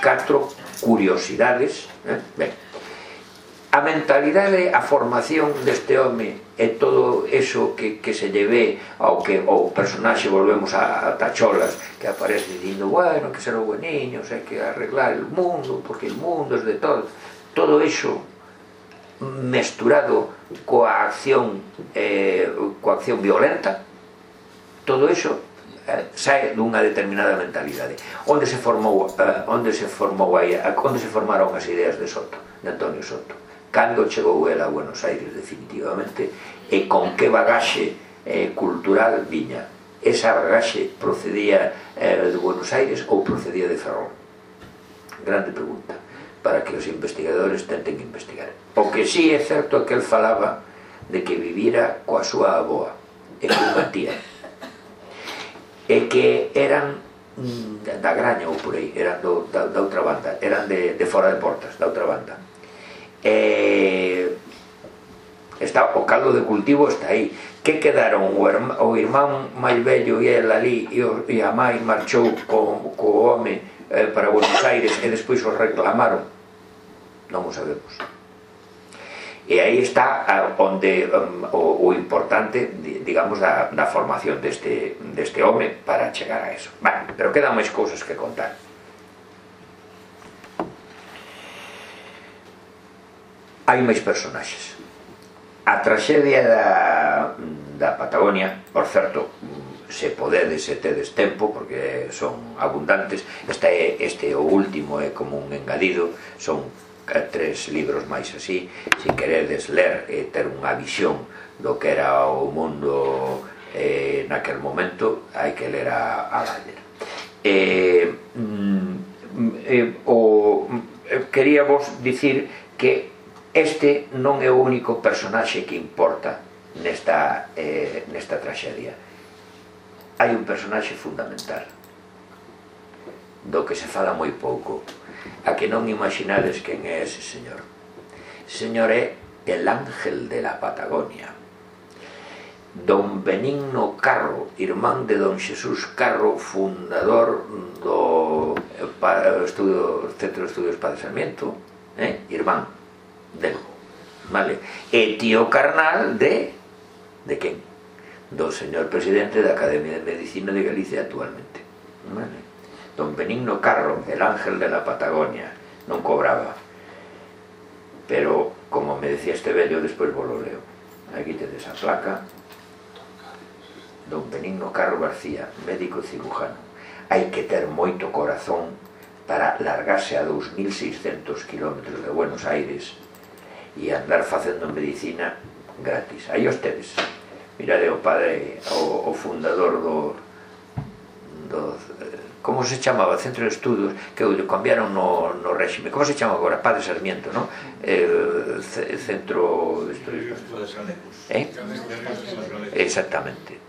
catro curiosidades, eh? Ben, a mentalidade, a formación deste home e todo eso que, que se lle ve ao que o personaxe, volvemos a, a Tacholas, que aparece dicindo, bueno, que ser os bueniños, hai que arreglar el mundo, porque el mundo es de todo. Todo eso mesturado coa acción eh, coa acción violenta, todo eso eh, sae dunha determinada mentalidade. Onde se formou eh, onde se formou aí, onde se formaron as ideas de Soto, de Antonio Soto, cando chegou el a Buenos Aires definitivamente, e con que bagaxe eh, cultural viña. Esa bagaxe procedía eh, de Buenos Aires ou procedía de Ferrol? Grande pregunta para que os investigadores tenten investigar. O que sí é certo é que el falaba de que vivira coa súa aboa e cunha tía, e que eran da Graña ou por aí, eran do, da, da outra banda, eran de, de fora de Portas, da outra banda. E está, o caldo de cultivo está aí. Que quedaron o, herma, o irmán máis vello e el ali, e, o, e a mãe marchou co, co home eh, para Buenos Aires e despois os reclamaron? Non o sabemos. E aí está a, onde um, o, o importante, digamos, da, da formación deste, deste home para chegar a eso. Vale, pero quedan máis cousas que contar. Hai máis personaxes. A traxedia da, da Patagonia, por certo, se podedes e tedes tempo, porque son abundantes, este, este o último é como un engadido, son tres libros máis así, se queredes ler e ter unha visión do que era o mundo eh, naquel momento, hai que ler a, a Dyer. Eh, eh, o, eh, quería vos dicir que este non é o único personaxe que importa nesta, eh, nesta traxedia. Hai un personaxe fundamental do que se fala moi pouco, a que non imaginades quen é ese señor. Ese señor é el ángel de la Patagonia, don Benigno Carro, irmán de don Xesús Carro, fundador do estudio, Centro de Estudios Padre Sarmiento, eh? irmán del, vale? E tío carnal de de quen? Do señor presidente da Academia de Medicina de Galicia actualmente, vale? Don Benigno Carro, el ángel de la Patagonia, non cobraba, pero como me decía este vello, despois vos lo leo, aquí tedes a placa. Don Benigno Carro García, médico cirujano. Hai que ter moito corazón para largarse a dous mil seiscentos kilómetros de Buenos Aires e andar facendo medicina gratis. Aí os tedes. Mirade o padre, o, o fundador do, do como se chamaba, Centro de Estudios, que o cambiaron no, no réxime, como se chama agora? Padre Sarmiento, non? Eh, centro de Estudios, eh? Exactamente.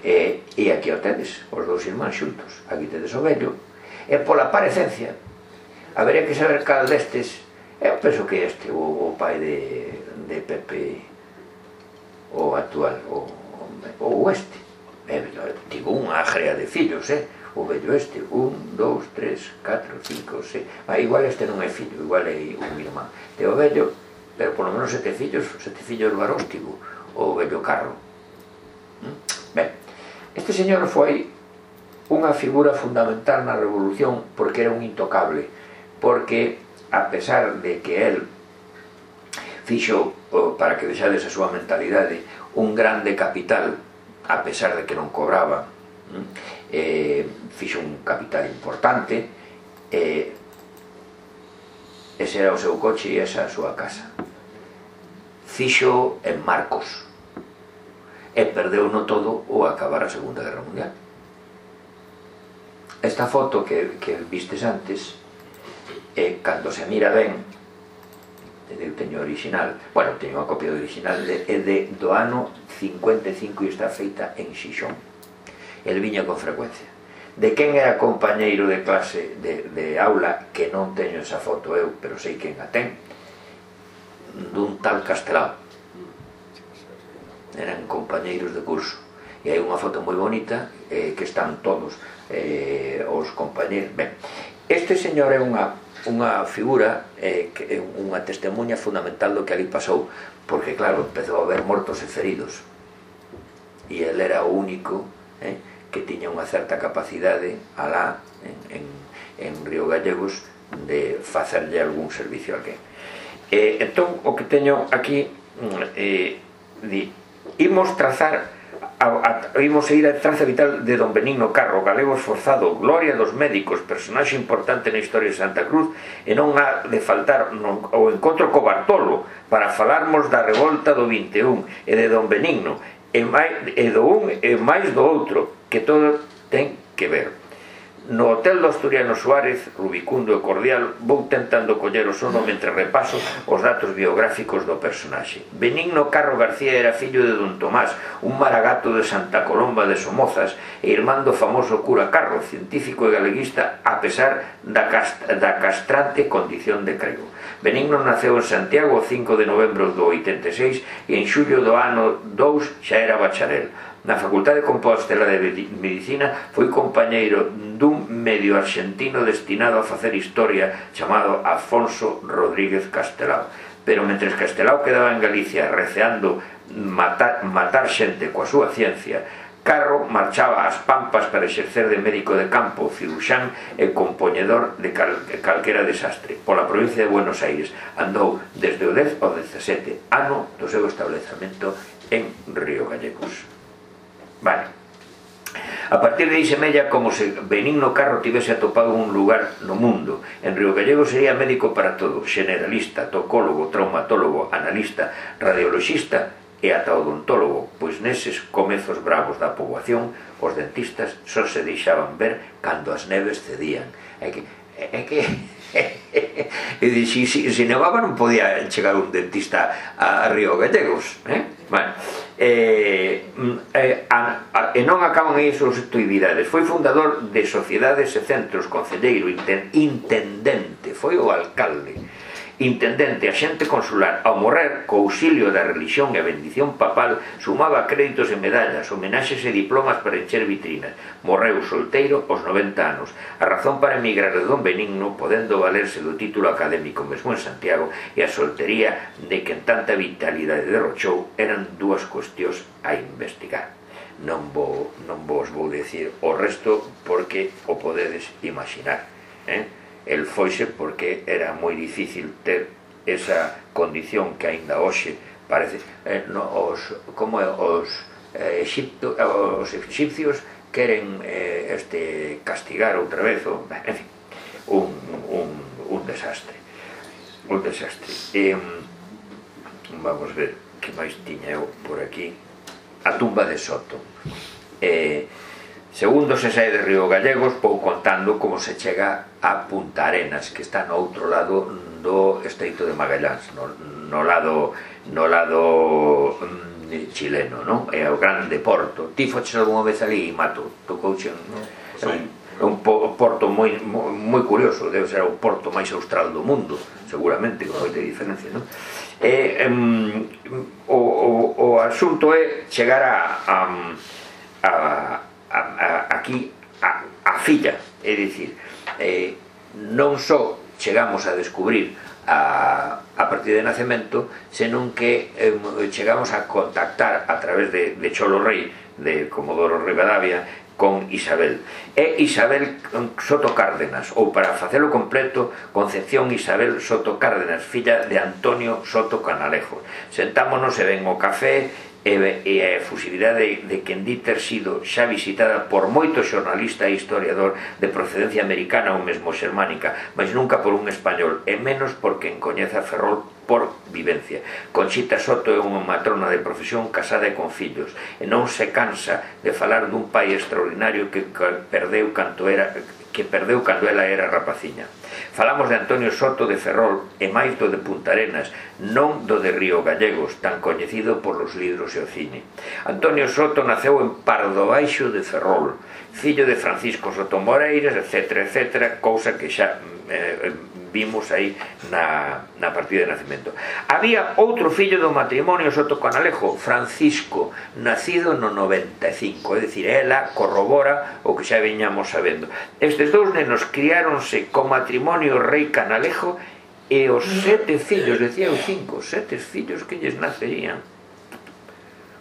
E, e aquí o tedes, os dous irmáns xuntos, aquí tedes o vello, e pola parecencia habería que saber cal destes, eu penso que este, o, o pai de, de Pepe, o actual, o, o este, eh, tivo unha agrea de fillos, eh? O vello este, un, dous, tres, catro, cinco, seis, ah, igual este non é fillo, igual é un irmán, e o vello, pero polo menos sete fillos, sete fillos varós tivo, o vello Carro. Ben, este señor foi unha figura fundamental na revolución porque era un intocable, porque a pesar de que el fixo, para que vexades a súa mentalidade, un grande capital, a pesar de que non cobraba, eh, fixo un capital importante, eh, ese era o seu coche e esa a súa casa. Fixo en Marcos e perdeu no todo ou acabar a Segunda Guerra Mundial. Esta foto que, que vistes antes, eh, cando se mira ben, eu teño original, bueno, teño unha copia do original, é de, de, do ano cincuenta e cinco e está feita en Xixón. El viña con frecuencia. De quen era compañeiro de clase de, de aula, que non teño esa foto eu, pero sei quen a ten, dun tal Castelao. Eran compañeiros de curso. E hai unha foto moi bonita, eh, que están todos eh, os compañeros. Ben, este señor é unha unha figura, eh, que é unha testemunha fundamental do que ali pasou, porque claro, empezou a haber mortos e feridos, e el era o único eh, que tiña unha certa capacidade alá en, en, en Río Gallegos de facerlle algún servicio a alguén. Eh, entón, o que teño aquí, eh, di, imos trazar A, a, imos a ir a traza vital de don Benigno Carro, galego esforzado, gloria dos médicos, personaxe importante na historia de Santa Cruz, e non ha de faltar no, o encontro co Bartolo para falarmos da revolta do vinte e un e de don Benigno, e, mai, e do un e máis do outro, que todo ten que ver. No hotel do Asturiano Suárez, rubicundo e cordial, vou tentando coller o sono mentre repaso os datos biográficos do personaxe. Benigno Carro García era fillo de don Tomás, un maragato de Santa Colomba de Somozas, e irmán do famoso cura Carro, científico e galeguista, a pesar da, cast da castrante condición de crego. Benigno naceu en Santiago o cinco de novembro do oitenta e seis e en xullo do ano dous xa era bacharel. Na Facultade de Compostela de Medicina foi compañeiro dun medio arxentino destinado a facer historia chamado Afonso Rodríguez Castelao. Pero mentres Castelao quedaba en Galicia receando matar, matar xente coa súa ciencia, Carro marchaba ás Pampas para exercer de médico de campo, ciruxán e compoñedor de cal, calquera desastre. Pola provincia de Buenos Aires andou desde o dez ao dezasete, ano do seu establecemento en Río Gallegos. Vale. A partir de aí semella como se Benigno Carro tivese atopado un lugar no mundo. En Río Gallegos sería médico para todo, generalista, tocólogo, traumatólogo, analista, radiologista e ata odontólogo, pois neses comezos bravos da poboación os dentistas só se deixaban ver cando as neves cedían. É que... É que... e si, si, si nevaba non podía chegar un dentista a, a Río Gallegos, eh? Bueno, eh, eh, a, a, e non acaban aí as súas actividades. Foi fundador de sociedades e centros, concelleiro, inten, intendente, foi o alcalde, intendente, axente consular. Ao morrer, co auxilio da religión e a bendición papal, sumaba créditos e medallas, homenaxes e diplomas para encher vitrinas. Morreu solteiro aos noventa anos. A razón para emigrar de don Benigno, podendo valerse do título académico mesmo en Santiago, e a soltería de que en tanta vitalidade derrochou, eran dúas cuestións a investigar. Non, vou, non vos vou decir o resto porque o podedes imaginar, eh? El foise porque era moi difícil ter esa condición que aínda hoxe parece eh, no, os, como os, eh, Egipto, os egipcios queren eh, este castigar outra vez o, en fin, un, un, un desastre un desastre e, vamos ver que máis tiña eu por aquí. A tumba de Soto. eh, Segundo se sae de Río Gallegos, vou contando como se chega a Punta Arenas, que está no outro lado do Estreito de Magallanes, no, no lado, no lado mm, chileno, non? É o grande porto. Ti foches algunha vez ali, Mato? Tocouche un, sí. un, un porto moi, moi curioso, debe ser o porto máis austral do mundo, seguramente, con moita diferencia, non? E, um, o, o, o asunto é chegar a... a, a A, a, aquí a, a filla, é dicir, eh, non só chegamos a descubrir a, a partida de nacemento, senón que eh, chegamos a contactar a través de, de Cholo Rei, de Comodoro Rivadavia, con Isabel. É Isabel Soto Cárdenas, ou para facelo completo, Concepción Isabel Soto Cárdenas, filla de Antonio Soto Canalejo. Sentámonos e ven o café, e a efusividade de quen di ter sido xa visitada por moito xornalista e historiador de procedencia americana ou mesmo xermánica, mas nunca por un español, e menos por quen coñeza Ferrol por vivencia. Conchita Soto é unha matrona de profesión casada e con fillos, e non se cansa de falar dun pai extraordinario que perdeu canto era que perdeu cando ela era rapaciña. Falamos de Antonio Soto de Ferrol e máis do de Punta Arenas, non do de Río Gallegos, tan coñecido por los libros e o cine. Antonio Soto naceu en Pardo Baixo de Ferrol, fillo de Francisco Soto Moreiras, etcétera, etcétera, cousa que xa eh, vimos aí na, na partida de nacimento. Había outro fillo do matrimonio Soto Canalejo, Francisco, nacido no noventa e cinco, é dicir, ela corrobora o que xa veñamos sabendo. Estes dous nenos criáronse co matrimonio Rei Canalejo e os sete fillos, decía eu cinco, sete fillos que lles nacerían.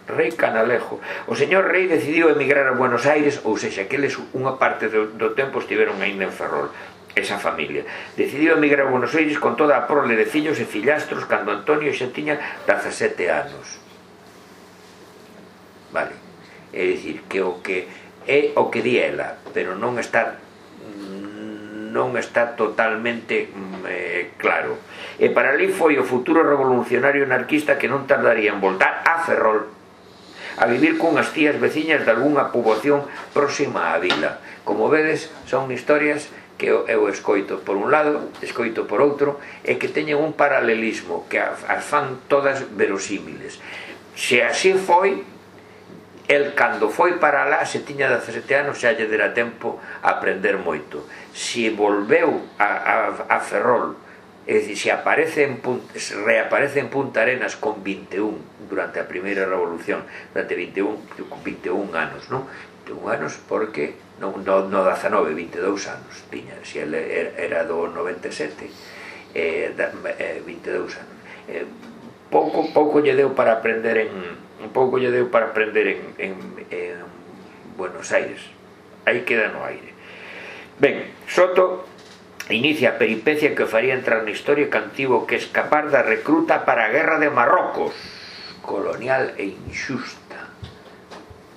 Rei Canalejo. O señor Rei decidiu emigrar a Buenos Aires, ou sexa, que eles unha parte do, do tempo estiveron ainda en Ferrol. Esa familia decidiu emigrar a Buenos Aires con toda a prole de fillos e fillastros cando Antonio xa tiña dezasete anos. Vale, é dicir, que o que é o que di ela, pero non está non está totalmente eh, claro. E para ali foi o futuro revolucionario anarquista que non tardaría en voltar a Ferrol a vivir cunhas tías veciñas de algunha poboación próxima á vila. Como vedes, son historias que eu escoito por un lado, escoito por outro, e que teñen un paralelismo, que as fan todas verosímiles. Se así foi, el cando foi para lá, se tiña dezasete anos, xa lle dera tempo a aprender moito. Se volveu a, a, a Ferrol, é dicir, se aparece en, se reaparece en Punta Arenas con vinte e un, durante a primeira revolución, durante vinte e un, vinte e un anos, non? vinte e un anos porque no, no, no dezanove, vinte e dous anos tiña, se ele era do noventa e sete, eh, vinte e dous anos. Eh, pouco, pouco lle deu para aprender en pouco lle deu para aprender en, en, en Buenos Aires. Aí queda no aire. Ben, Soto inicia a peripecia que faría entrar na historia que tivo que escapar da recruta para a guerra de Marrocos, colonial e injusta.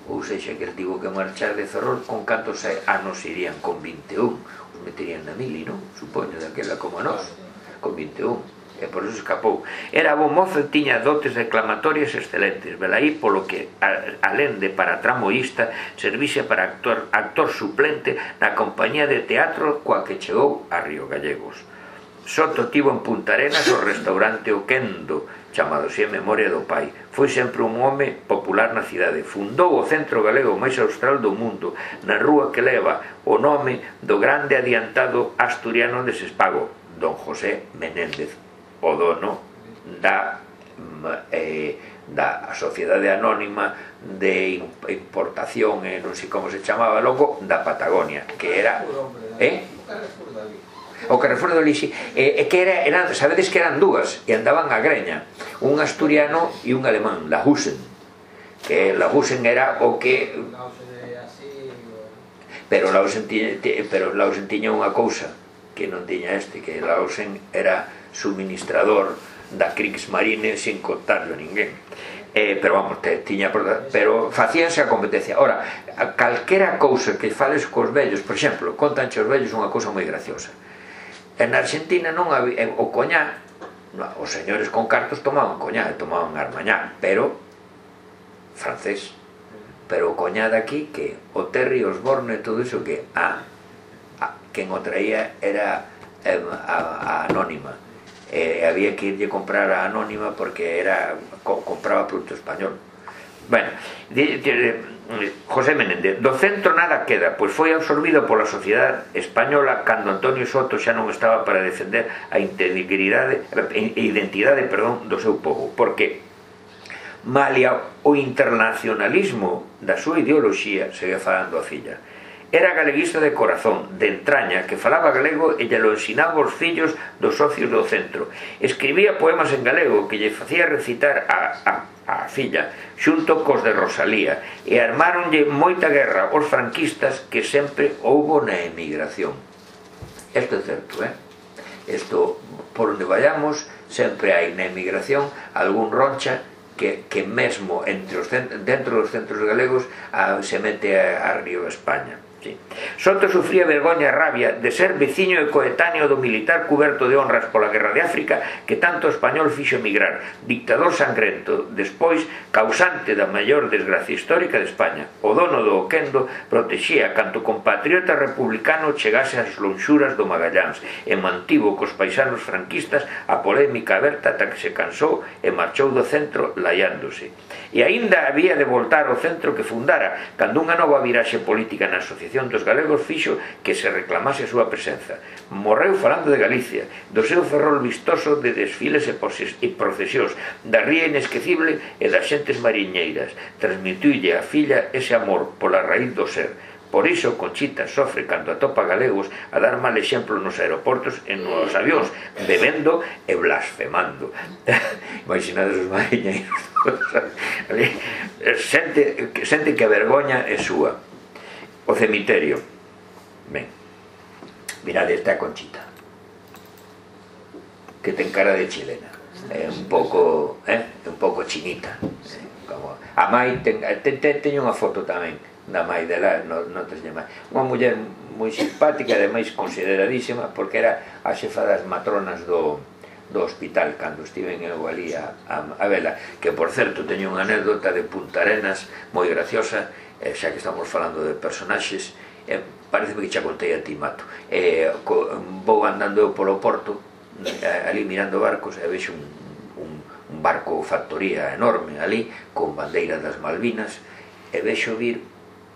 Ou sexa, que el tivo que marchar de Ferrol con cantos anos irían, con vinte e un. Os meterían na mili, non? Supoño, daquela como a nós, con vinte e un. E por eso escapou. Era bo mozo e tiña dotes declamatorias excelentes, velaí polo que, alén de para tramoísta, servise para actor, actor suplente na compañía de teatro coa que chegou a Río Gallegos. Soto tivo en Punta Arenas o restaurante O Quendo, chamado así en memoria do pai. Foi sempre un home popular na cidade. Fundou o centro galego máis austral do mundo, na rúa que leva o nome do grande adiantado asturiano de Sespago, don José Menéndez, o dono da, eh, da Sociedade Anónima de Importación, eh, non sei como se chamaba logo, da Patagonia, que era... Eh? O Carrefour do Lixi, eh, que era, eran, sabedes que eran dúas, e andaban a greña, un asturiano e un alemán, Lahusen, que Lahusen era o que... Pero Lahusen tiña, pero Lahusen tiña unha cousa que non tiña este, que Lahusen era suministrador da Kriegsmarine sin contarlo a ninguén. Eh, pero vamos, te, tiña, pero facíanse a competencia. Ora, a calquera cousa que fales cos vellos, por exemplo, contanche os vellos unha cousa moi graciosa. En Argentina non había, o coñá, os señores con cartos tomaban coñá, tomaban armañá, pero francés. Pero o coñá daqui, que o Terry, Osborne, todo iso, que a, a quen o traía era a, a, a Anónima. Eh, había que irlle comprar a Anónima porque era co, compraba produto español. Bueno, de, de, José Menéndez, do centro nada queda, pois foi absorbido pola sociedade española cando Antonio Soto xa non estaba para defender a integridade e identidade, perdón, do seu povo, porque malia o internacionalismo da súa ideoloxía, segue falando a filla, Era galeguista de corazón, de entraña, que falaba galego e lle lo ensinaba aos fillos dos socios do centro. Escribía poemas en galego que lle facía recitar a, a, a filla, xunto cos de Rosalía, e armáronlle moita guerra aos franquistas que sempre houbo na emigración. Isto é certo, eh? Isto, por onde vayamos, sempre hai na emigración algún roncha que, que mesmo entre os, dentro dos centros galegos a, se mete a, a Río España. Sí. Soto sufría vergoña e rabia de ser veciño e coetáneo do militar cuberto de honras pola guerra de África que tanto español fixo emigrar, dictador sangrento, despois causante da maior desgracia histórica de España. O dono do Oquendo protexía canto compatriota republicano chegase ás lonxuras do Magallans e mantivo cos paisanos franquistas a polémica aberta ata que se cansou e marchou do centro laiándose. E aínda había de voltar ao centro que fundara cando unha nova viraxe política na Asociación dos Galegos fixo que se reclamase a súa presenza. Morreu falando de Galicia, do seu ferrol vistoso de desfiles e procesións, da ría inesquecible e das xentes mariñeiras. Transmitiulle a filla ese amor pola raíz do ser. Por iso Conchita sofre cando atopa galegos a dar mal exemplo nos aeroportos e nos avións, bebendo e blasfemando. Imaginades os mariñeiros. Sente, sente que a vergoña é súa. O cemiterio. Ben, mirad esta Conchita, que ten cara de chilena, é un pouco, eh, un pouco chinita. Como a mai ten, ten, ten, teño unha foto tamén da mai dela, non no te llama, unha muller moi simpática, ademais consideradísima, porque era a xefa das matronas do do hospital cando estiven eu ali a, a, a vela, que por certo teño unha anécdota de Punta Arenas moi graciosa. Eh, xa que estamos falando de personaxes, eh, parece que xa contei a ti, Mato. Eh, co, vou andando eu polo porto, eh, ali mirando barcos, e vexo un, un, un barco factoría enorme ali, con bandeira das Malvinas, e vexo vir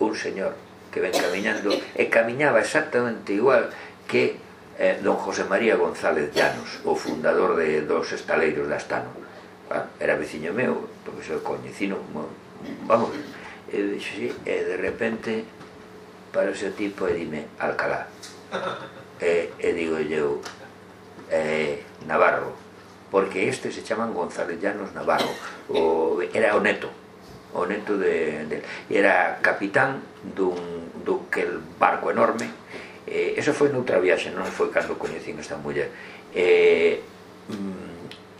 un señor que ven camiñando, e camiñaba exactamente igual que eh, don José María González Llanos, o fundador de, dos estaleiros de Astano. Ah, era veciño meu, porque soy coñecino, vamos. E dixo, sí, e de repente para ese tipo e dime Alcalá, e, e digo eu eh, Navarro, porque este se chaman González Llanos Navarro, o, era o neto o neto de, de era capitán dun, dun que el barco enorme. Eh, eso foi noutra viaxe, non foi cando coñecín esta muller. eh,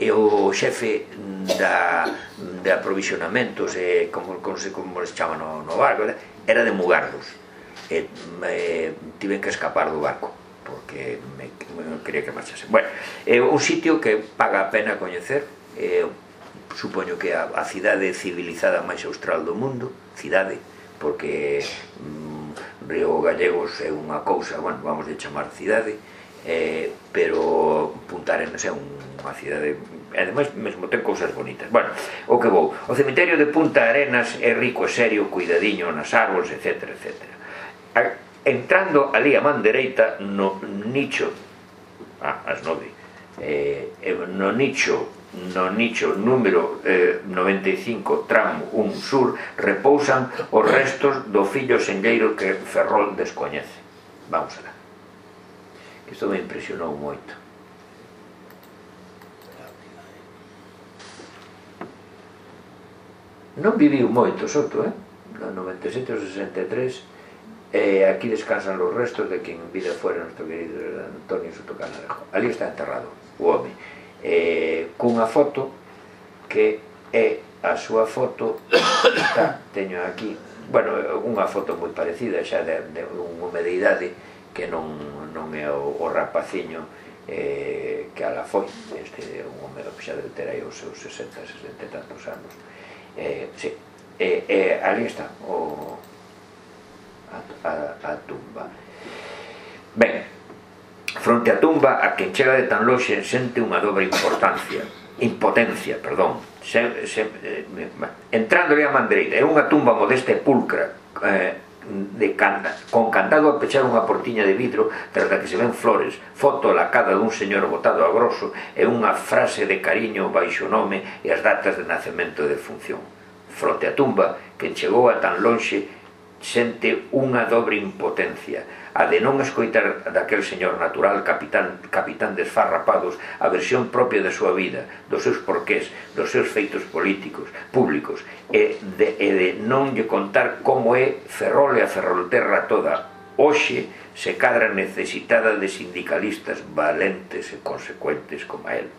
e o xefe da, de aprovisionamentos, e como, como, se, como se chama no, no barco, era de Mugardos, e eh, tiven que escapar do barco porque me, me quería que marchase. Bueno, é un sitio que paga a pena coñecer, eh, supoño que a, a cidade civilizada máis austral do mundo, cidade, porque mm, Río Gallegos é unha cousa, bueno, vamos de chamar cidade, eh, pero Punta Arenas é unha cidade, ademais mesmo ten cousas bonitas. Bueno, o que vou, o cemiterio de Punta Arenas é rico e serio, cuidadiño nas árbores, etcétera, etcétera. Entrando ali a man dereita no nicho, ah, as nove, eh, no nicho no nicho número eh, noventa e cinco, tramo un sur, repousan os restos do fillo senlleiro que Ferrol descoñece. Vamos alá. Isto me impresionou moito. Non viviu moito Soto, eh? No noventa e sete ao sesenta e tres, e aquí descansan os restos de quen vida fuera nuestro querido Antonio Soto Canalejo. Ali está enterrado o home, eh, cunha foto que é a súa foto, está, teño aquí, bueno, unha foto moi parecida xa de, de un home de idade que non, non é o, o rapaciño eh, que ala foi. Este é un home que xa debe ter aí os seus sesenta, sesenta e tantos anos. Eh, sí, eh, eh, ali está o, a, a, a tumba. Ben, fronte á tumba, a quen chega de tan lonxe sente unha dobre importancia, impotencia, perdón, se, se, eh, entrándole a man dereita. É unha tumba modesta e pulcra, eh, de canta, con candado a pechar unha portiña de vidro tras da que se ven flores, foto lacada dun señor botado a grosso e unha frase de cariño baixo o nome e as datas de nacemento e de función. Fronte á tumba, quen chegou a tan lonxe sente unha dobre impotencia, a de non escoitar daquel señor natural, capitán, capitán desfarrapados, a versión propia da súa vida, dos seus porqués, dos seus feitos políticos, públicos, e de, e de non lle contar como é Ferrol e a Ferrolterra toda, hoxe se cadra necesitada de sindicalistas valentes e consecuentes como a él.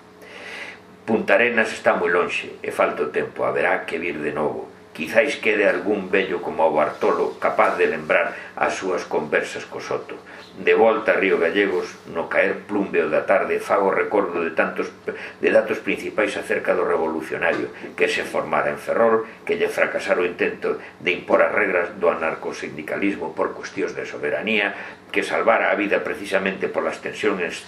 Punta Arenas está moi lonxe e falta o tempo, haberá que vir de novo. Quizáis quede algún vello como o Bartolo capaz de lembrar as súas conversas co Soto. De volta a Río Gallegos, no caer plumbeo da tarde, fago recordo de tantos de datos principais acerca do revolucionario que se formara en Ferrol, que lle fracasara o intento de impor as regras do anarcosindicalismo por cuestións de soberanía, que salvara a vida precisamente polas tensións,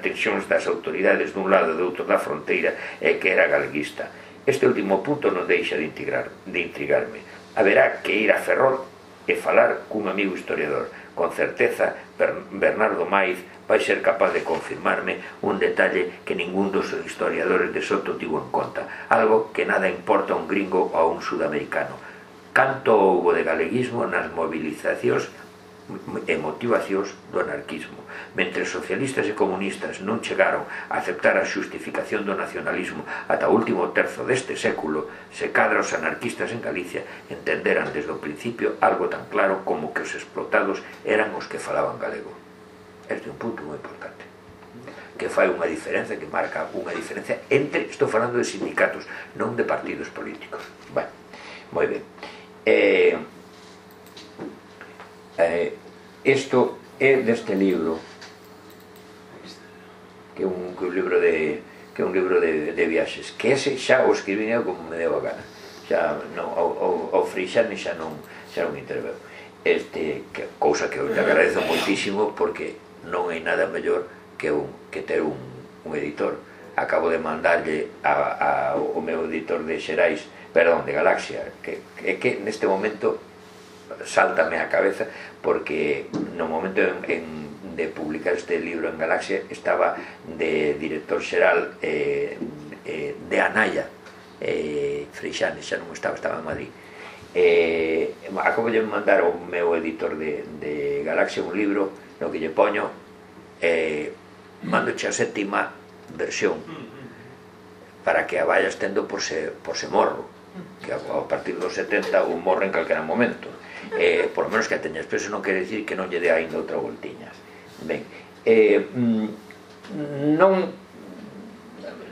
tensións das autoridades dun lado e do outro da fronteira e que era galeguista. Este último punto non deixa de, integrar, de intrigarme. Haberá que ir a Ferrol e falar cun amigo historiador. Con certeza, Bernardo Maiz vai ser capaz de confirmarme un detalle que ningún dos historiadores de Soto tivo en conta, algo que nada importa a un gringo ou a un sudamericano. Canto houbo de galeguismo nas movilizacións e motivacións do anarquismo. Mentre socialistas e comunistas non chegaron a aceptar a xustificación do nacionalismo ata o último terzo deste século, se cadra os anarquistas en Galicia entenderan desde o principio algo tan claro como que os explotados eran os que falaban galego. Este é un punto moi importante, que fai unha diferencia, que marca unha diferencia entre, estou falando de sindicatos, non de partidos políticos. Bueno, moi ben. Eh, eh, isto é deste libro, que é un, que un libro de que é un libro de, de viaxes, que ese xa o escribín eu como me deu a gana, xa non, o, o, o Freixane xa non xa non interveu, este, que, cousa que eu te agradezo moitísimo, porque non hai nada mellor que, un, que ter un, un editor. Acabo de mandarlle a, a, o meu editor de Xerais, perdón, de Galaxia, que, que, que neste momento sáltame a cabeza, porque no momento en, en, de publicar este libro en Galaxia estaba de director xeral eh, eh, de Anaya, eh, Freixane, xa non estaba, estaba en Madrid. Eh, acabo de mandar ao meu editor de, de Galaxia un libro no que lle poño eh, mandoche a sétima versión para que a vayas tendo por se, por se morro, que a, a partir dos setenta un morre en calquera momento, eh, por lo menos que a teñas, pero eso non quere dicir que non lle dé ainda outra voltiña. Ben, eh, non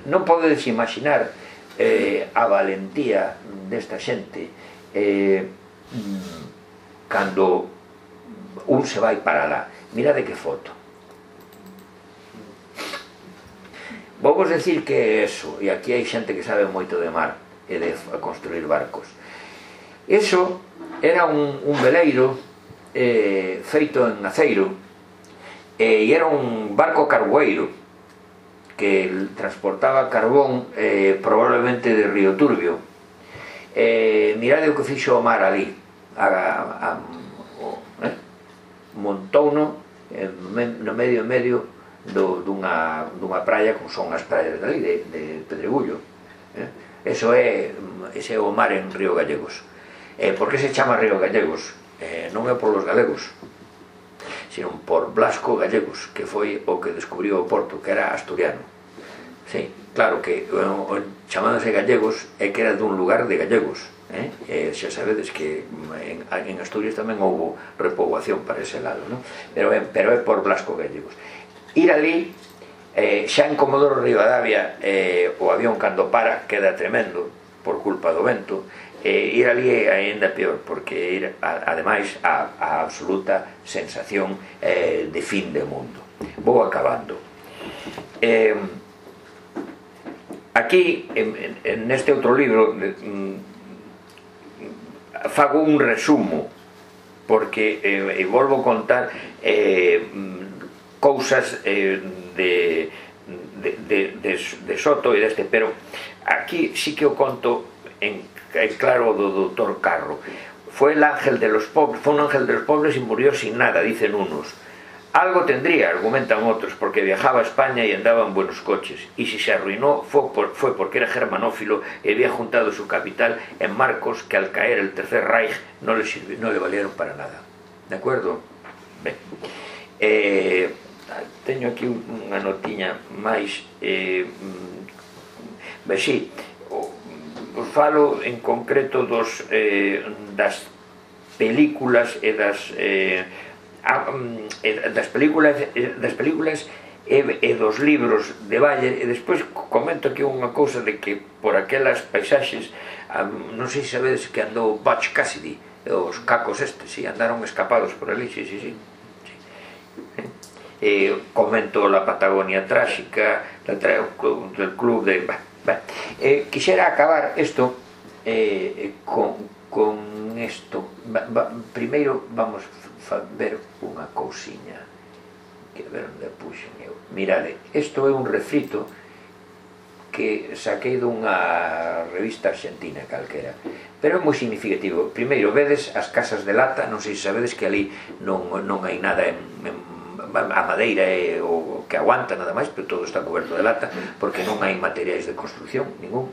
non podedes imaginar eh, a valentía desta xente eh, cando un se vai para lá. Mirade que foto. Vou vos decir que é eso, e aquí hai xente que sabe moito de mar e de construir barcos. Eso era un, un veleiro eh, feito en aceiro, e era un barco cargueiro que transportaba carbón eh, probablemente de Río Turbio. Eh, mirade o que fixo o mar ali, a, a, o, eh? montouno no medio en medio do, dunha, dunha praia como son as praias dali de, de Pedregullo, eh? Eso é, ese é o mar en Río Gallegos. Eh, por que se chama Río Gallegos? Eh, non é por los galegos, sino por Blasco Gallegos, que foi o que descubriu o porto, que era asturiano. Sí, claro que o, o, chamándose gallegos é que era dun lugar de gallegos, eh? E xa sabedes que en, en Asturias tamén houve repoboación para ese lado, ¿no? pero, é, pero é por Blasco Gallegos. Ir ali, eh, xa en Comodoro Rivadavia, eh, o avión cando para queda tremendo por culpa do vento. Eh, ir ali é ainda peor, porque ir a, ademais a, a absoluta sensación eh, de fin de mundo. Vou acabando. Eh, aquí, en, en este outro libro, mm, fago un resumo, porque eh, volvo a contar eh, cousas eh, de, de, de, de, de Soto e deste, pero aquí sí que o conto en claro do doutor Carro. Fue el ángel de los pobres, fue un ángel de los pobres y murió sin nada, dicen unos. Algo tendría, argumentan otros, porque viajaba a España y andaba en buenos coches, y si se arruinó fue, por, fue porque era germanófilo y había juntado su capital en marcos que al caer el Tercer Reich no le, sirvi, no le valieron para nada. ¿De acuerdo? Ben. Eh, teño aquí unha notiña máis... Eh, ben, sí, os falo en concreto dos, eh, das películas e das... Eh, das películas das películas e, e dos libros de Bayer, e despois comento aquí unha cousa de que por aquelas paisaxes, non sei se sabedes que andou Butch Cassidy, os cacos estes, si, andaron escapados por ali, si, si, si. E comento la Patagonia tráxica del club de... Eh, quixera acabar isto eh, con, con isto. Primeiro vamos a ver unha cousiña que ver onde puxen eu. Mirade, isto é un refrito que saquei dunha revista argentina calquera, pero é moi significativo. Primeiro, vedes as casas de lata, non sei se sabedes que ali non, non hai nada en, en a madeira é o que aguanta nada máis, pero todo está coberto de lata porque non hai materiais de construcción ningún.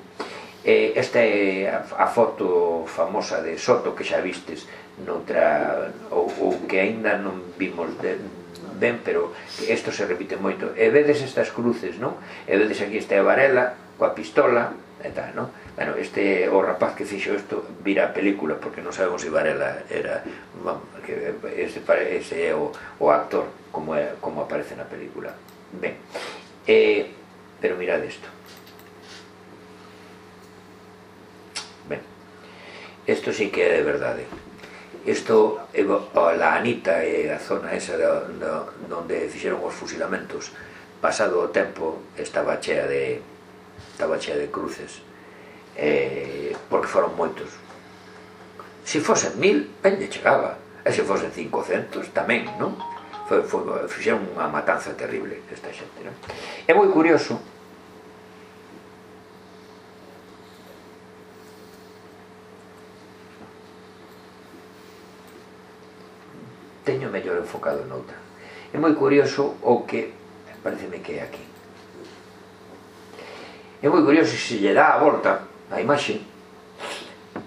Esta é a foto famosa de Soto que xa vistes noutra, ou, ou que aínda non vimos de, ben, pero isto se repite moito. E vedes estas cruces, non? E vedes aquí esta Varela coa pistola e tal, non? Bueno, este o rapaz que fixo isto vira a película, porque non sabemos se Varela era, que ese, ese é o, o actor como, é, como aparece na película. Ben, eh, pero mirad isto. Ben, isto sí que é de verdade. Isto, a Anita e a zona esa onde fixeron os fusilamentos, pasado o tempo estaba chea de estaba chea de cruces, eh, porque foron moitos. Se fosen mil, ben lle chegaba, e se fosen cincocentos tamén, non? Foi, foi, fixeron unha matanza terrible esta xente, non? É moi curioso teño mellor enfocado noutra. É moi curioso o que pareceme que é aquí. É moi curioso se lle dá a volta a imaxe.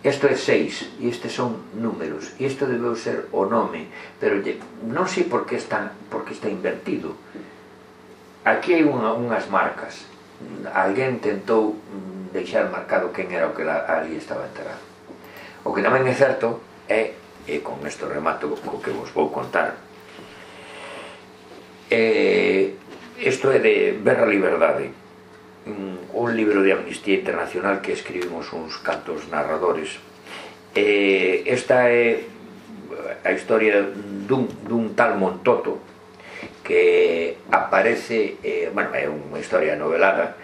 Isto é seis e estes son números e isto debeu ser o nome, pero non sei por que está, por que está invertido. Aquí hai unha, unhas marcas. Alguén tentou deixar marcado quen era o que ali estaba enterrado. O que tamén é certo é, e con isto remato o que vos vou contar, isto é de Berra Liberdade, un libro de Amnistía Internacional que escribimos uns cantos narradores. Esta é a historia dun, dun tal Montoto que aparece, bueno, é unha historia novelada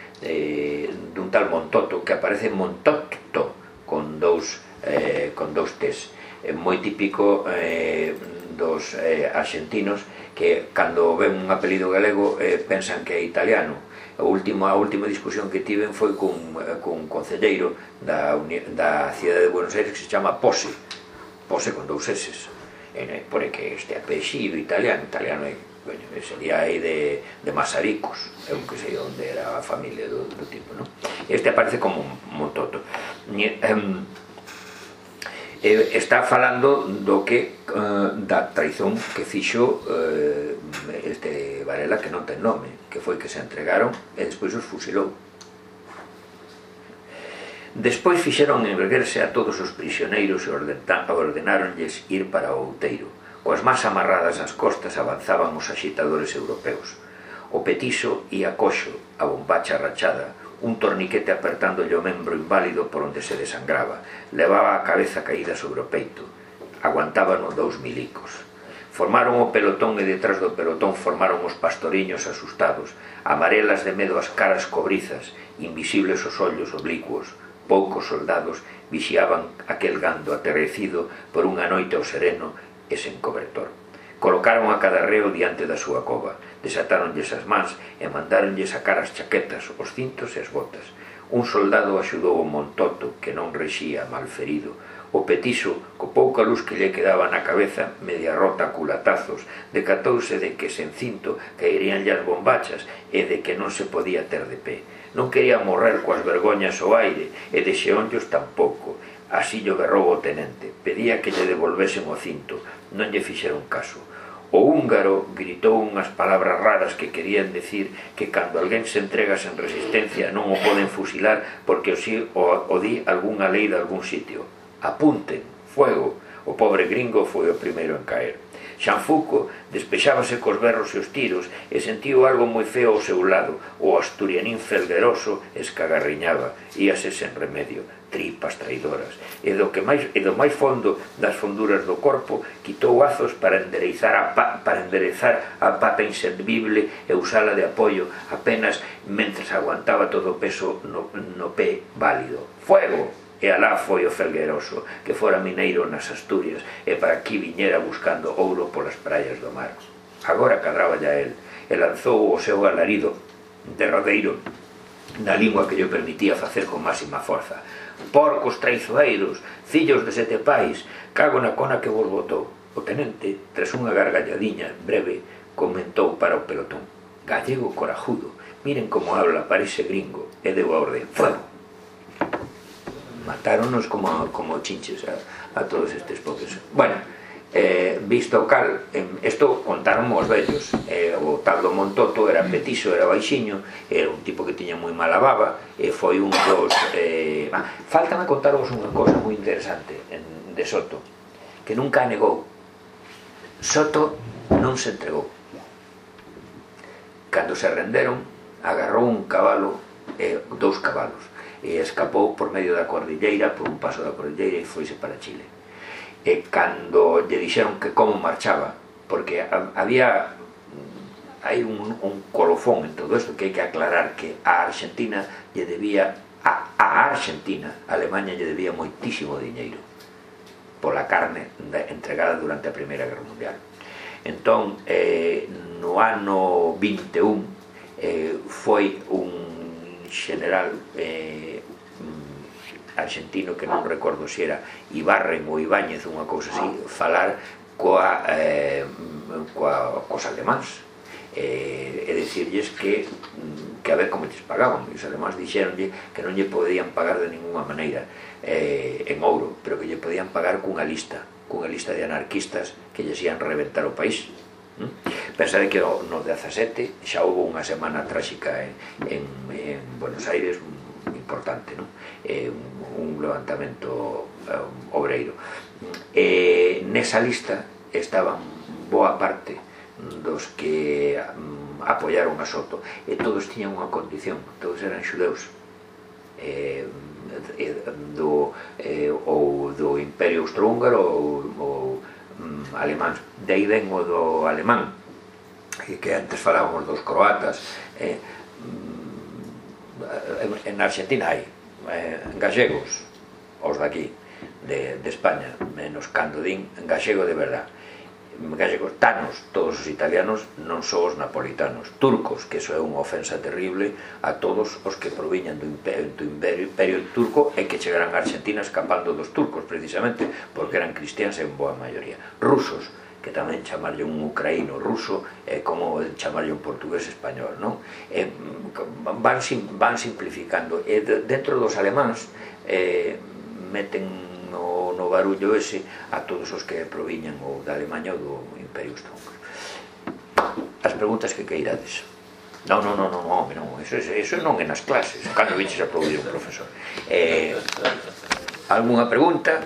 dun tal Montoto que aparece Montoto con dous con dous tes. É moi típico eh, dos eh, argentinos que cando ven un apelido galego eh, pensan que é italiano. A última, a última discusión que tiven foi cun, cun concelleiro da, da cidade de Buenos Aires que se chama Pose, Pose con dous eses, eh, por que este apelido italiano, italiano é, bueno, sería aí de, de Masaricos, eu que sei onde era a familia do, do tipo, non? Este aparece como un Montoto. Um, está falando do que uh, da traizón que fixo uh, este Varela, que non ten nome, que foi que se entregaron e despois os fusilou. Despois fixeron enverguerse a todos os prisioneiros e ordenáronlles ir para o outeiro. Coas más amarradas ás costas avanzaban os axitadores europeos. O petiso ia coxo, a bombacha rachada, un torniquete apertándolle o membro inválido por onde se desangraba, levaba a cabeza caída sobre o peito, aguantaban os dous milicos. Formaron o pelotón e detrás do pelotón formaron os pastoriños asustados, amarelas de medo as caras cobrizas, invisibles os ollos oblicuos. Poucos soldados vixiaban aquel gando aterrecido por unha noite ao sereno e sen cobertor. Colocaron a cada reo diante da súa cova, desatáronlles as mans e mandáronlles sacar as chaquetas, os cintos e as botas. Un soldado axudou o Montoto, que non rexía malferido. O petiso, co pouca luz que lle quedaba na cabeza, media rota a culatazos, decatouse de que sen cinto caeríanlle as bombachas e de que non se podía ter de pé. Non quería morrer coas vergoñas ao aire e de xeonllos tampouco. Así lle berrou o tenente. Pedía que lle devolvesen o cinto. Non lle fixeron caso. O húngaro gritou unhas palabras raras que querían decir que cando alguén se entrega sen resistencia non o poden fusilar porque o, si, o, o di algunha lei de algún sitio. Apunten, fuego. O pobre gringo foi o primeiro en caer. Xanfuco despexábase cos berros e os tiros e sentiu algo moi feo ao seu lado. O asturianín felgueroso escagarriñaba, íase sen remedio, tripas traidoras, e do, que máis, e do máis fondo das fonduras do corpo quitou azos para enderezar a, pa, para enderezar a pata inservible e usala de apoio apenas mentres aguantaba todo o peso no, no pé válido. Fuego! E alá foi o felgueroso, que fora mineiro nas Asturias e para aquí viñera buscando ouro polas praias do mar. Agora cadraba ya el, e lanzou o seu alarido derradeiro na lingua que lle permitía facer con máxima forza. Porcos traizoeiros, fillos de sete pais, cago na cona que vos botou. O tenente, tras unha gargalladiña breve, comentou para o pelotón: gallego corajudo, miren como habla, parece gringo, e deu a orde: fuego. Matáronos como, como chinches a, a todos estes pobres. Bueno, eh, visto o cal, eh, isto contaron os vellos. Eh, o tal do Montoto era petiso, era baixiño, era un tipo que tiña moi mala baba, e foi un dos... Eh, ah, faltame contaros unha cosa moi interesante en, de Soto, que nunca negou. Soto non se entregou. Cando se renderon, agarrou un cabalo, eh, dous cabalos, e escapou por medio da cordilleira, por un paso da cordilleira, e foise para Chile. E cando lle dixeron que como marchaba, porque había hai un, un colofón en todo isto, que hai que aclarar que a Argentina lle debía a, a Argentina, a Alemanha lle debía moitísimo diñeiro pola carne entregada durante a Primeira Guerra Mundial. Entón, eh, no ano vinte e un eh, foi un general eh, argentino, que non recordo se era Ibarren ou Ibáñez, unha cousa así, falar coa, eh, coa, cos alemáns, eh, e dicirlles que que a ver como lles pagaban. E os alemáns dixeronlle que non lle podían pagar de ninguna maneira eh, en ouro, pero que lle podían pagar cunha lista cunha lista de anarquistas que lles ian reventar o país. ¿Mm? Pensade que no dezasete xa houve unha semana tráxica en, en, en Buenos Aires importante, ¿no? eh, un, un levantamento um, obreiro. E nesa lista estaban boa parte dos que um, apoyaron a Soto, e todos tiñan unha condición, todos eran xudeus, eh, do, eh, ou do Imperio Austrohúngaro ou, ou um, alemán. De aí ven o do alemán, que, que antes falábamos dos croatas. eh, en Argentina hai eh, gallegos, os daqui de, de España, menos cando din gallego de verdad, gallegos, tanos, todos os italianos, non só os napolitanos, turcos, que iso é unha ofensa terrible a todos os que proviñan do imperio, do imperio, imperio turco e que chegaran a Argentina escapando dos turcos, precisamente porque eran cristianos en boa maioría. Rusos, que tamén chamarlle un ucraíno ruso é como chamarlle un portugués español, non? E van, van simplificando, e dentro dos alemáns eh, meten no, no barullo ese a todos os que proviñan ou da Alemanha ou do Imperio Austrohúngaro. As preguntas que queirades. Non, non, non, non, non, non, eso, eso non é nas clases, cando viches aplaudir un profesor. Eh, algunha pregunta?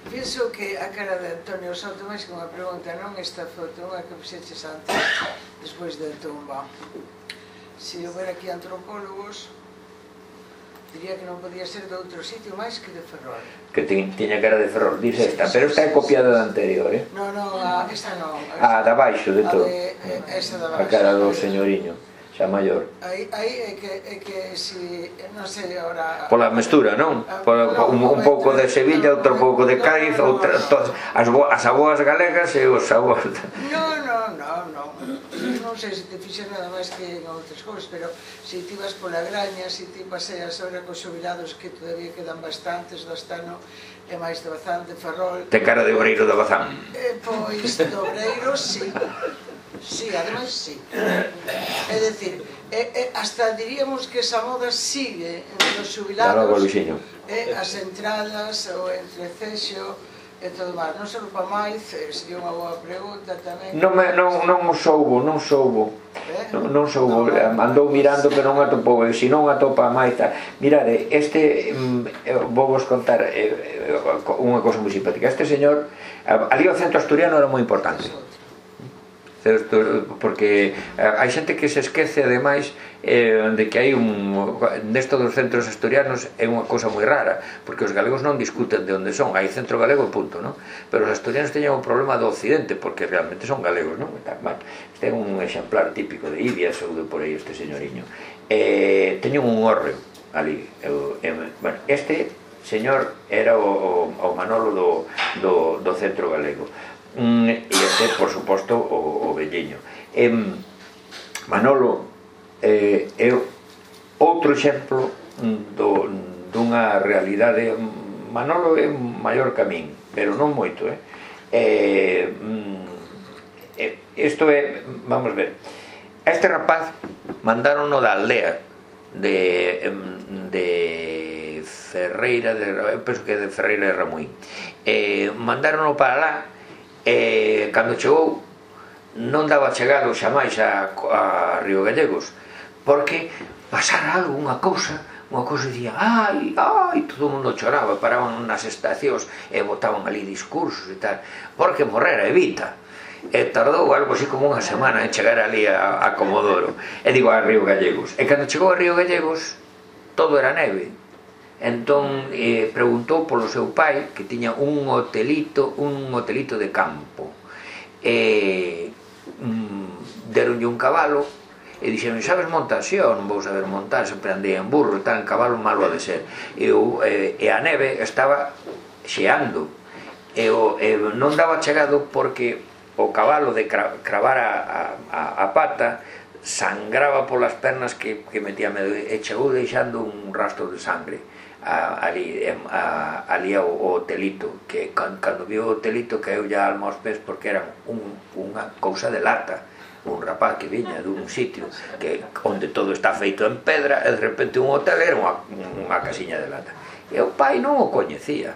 Penso que a cara de Antonio Soto, máis que unha pregunta, non esta foto, unha que fixeches antes, despois da tumba. Se houbera aquí antropólogos, diría que non podía ser de outro sitio máis que de Ferrol. Que tiña cara de Ferrol, dice esta, pero esta é copiada da anterior, eh? Non, non, esta non. A da baixo de todo. Esa da baixo. A cara do señoriño, xa maior. Aí, aí é que, é que si, non sei agora... Pola mestura, non? Pola, un, un pouco de Sevilla, outro pouco de Cádiz, outra, todas, as, bo, as aboas galegas e os aboas... Non, non, non, non. Non sei se te fixe nada máis que en outras cousas, pero se ti vas pola Graña, se ti paseas ahora cos xubilados que todavía quedan bastantes do Astano e máis de Bazán, de Ferrol. Te cara de obreiro de Bazán. Eh, pois, de obreiro, sí. Sí, ademais, sí. É dicir, eh, eh, hasta diríamos que esa moda sigue entre os xubilados, eh, as entradas, o entrecexo, e todo máis. Non se lupa máis, sería unha boa pregunta tamén. Non, me, non, non o soubo, non soubo. Eh? Non, non soubo, no, no, andou mirando pero non atopou, e se non atopa máis ta. Mirade, este, mm, vou vos contar eh, unha cousa moi simpática. Este señor, ali o centro asturiano era moi importante. Porque hai xente que se esquece ademais eh, de que hai un nesto dos centros asturianos é unha cousa moi rara, porque os galegos non discuten de onde son, hai centro galego e punto, non? Pero os asturianos teñen un problema do occidente porque realmente son galegos, non? Este é un exemplar típico de Ibias ou de por aí este señoriño. Eh, teñen un hórreo ali, eu, eh, bueno, este señor era o, o Manolo do, do, do centro galego. Mm, e este, por suposto, o, o velleño. eh, Manolo eh, é outro exemplo do, dunha realidade. Manolo é maior que a min, pero non moito, eh? Eh, isto é, vamos ver, a este rapaz mandaron da aldea de, de Ferreira de, eu penso que é de Ferreira de Ramuín, eh, mandaron para lá. E cando chegou non daba chegado xa máis a, a Río Gallegos, porque pasara algo, unha cousa, unha cousa dicía ai, ai, todo o mundo choraba, paraban nas estacións e botaban ali discursos e tal, porque morrera Evita. E tardou algo así como unha semana en chegar ali a, a Comodoro, e digo a Río Gallegos. E cando chegou a Río Gallegos todo era neve. Entón eh, preguntou polo seu pai, que tiña un hotelito, un hotelito de campo. E mm, deronlle un cabalo e dixeron, sabes montar? Si, eu non vou saber montar, sempre andei en burro e tal, en cabalo malo ha de ser. E, o, e, e a neve estaba xeando e, o, e non daba chegado porque o cabalo de cra, cravar a, a, a pata sangraba polas pernas que, que metía medo e chegou deixando un rastro de sangre. A, ali, a, ali ao, ao hotelito, que cando viu o hotelito caeu ya alma aos pés porque era un, unha cousa de lata, un rapaz que viña dun sitio que onde todo está feito en pedra e de repente un hotel era unha, unha casiña de lata. E o pai non o coñecía,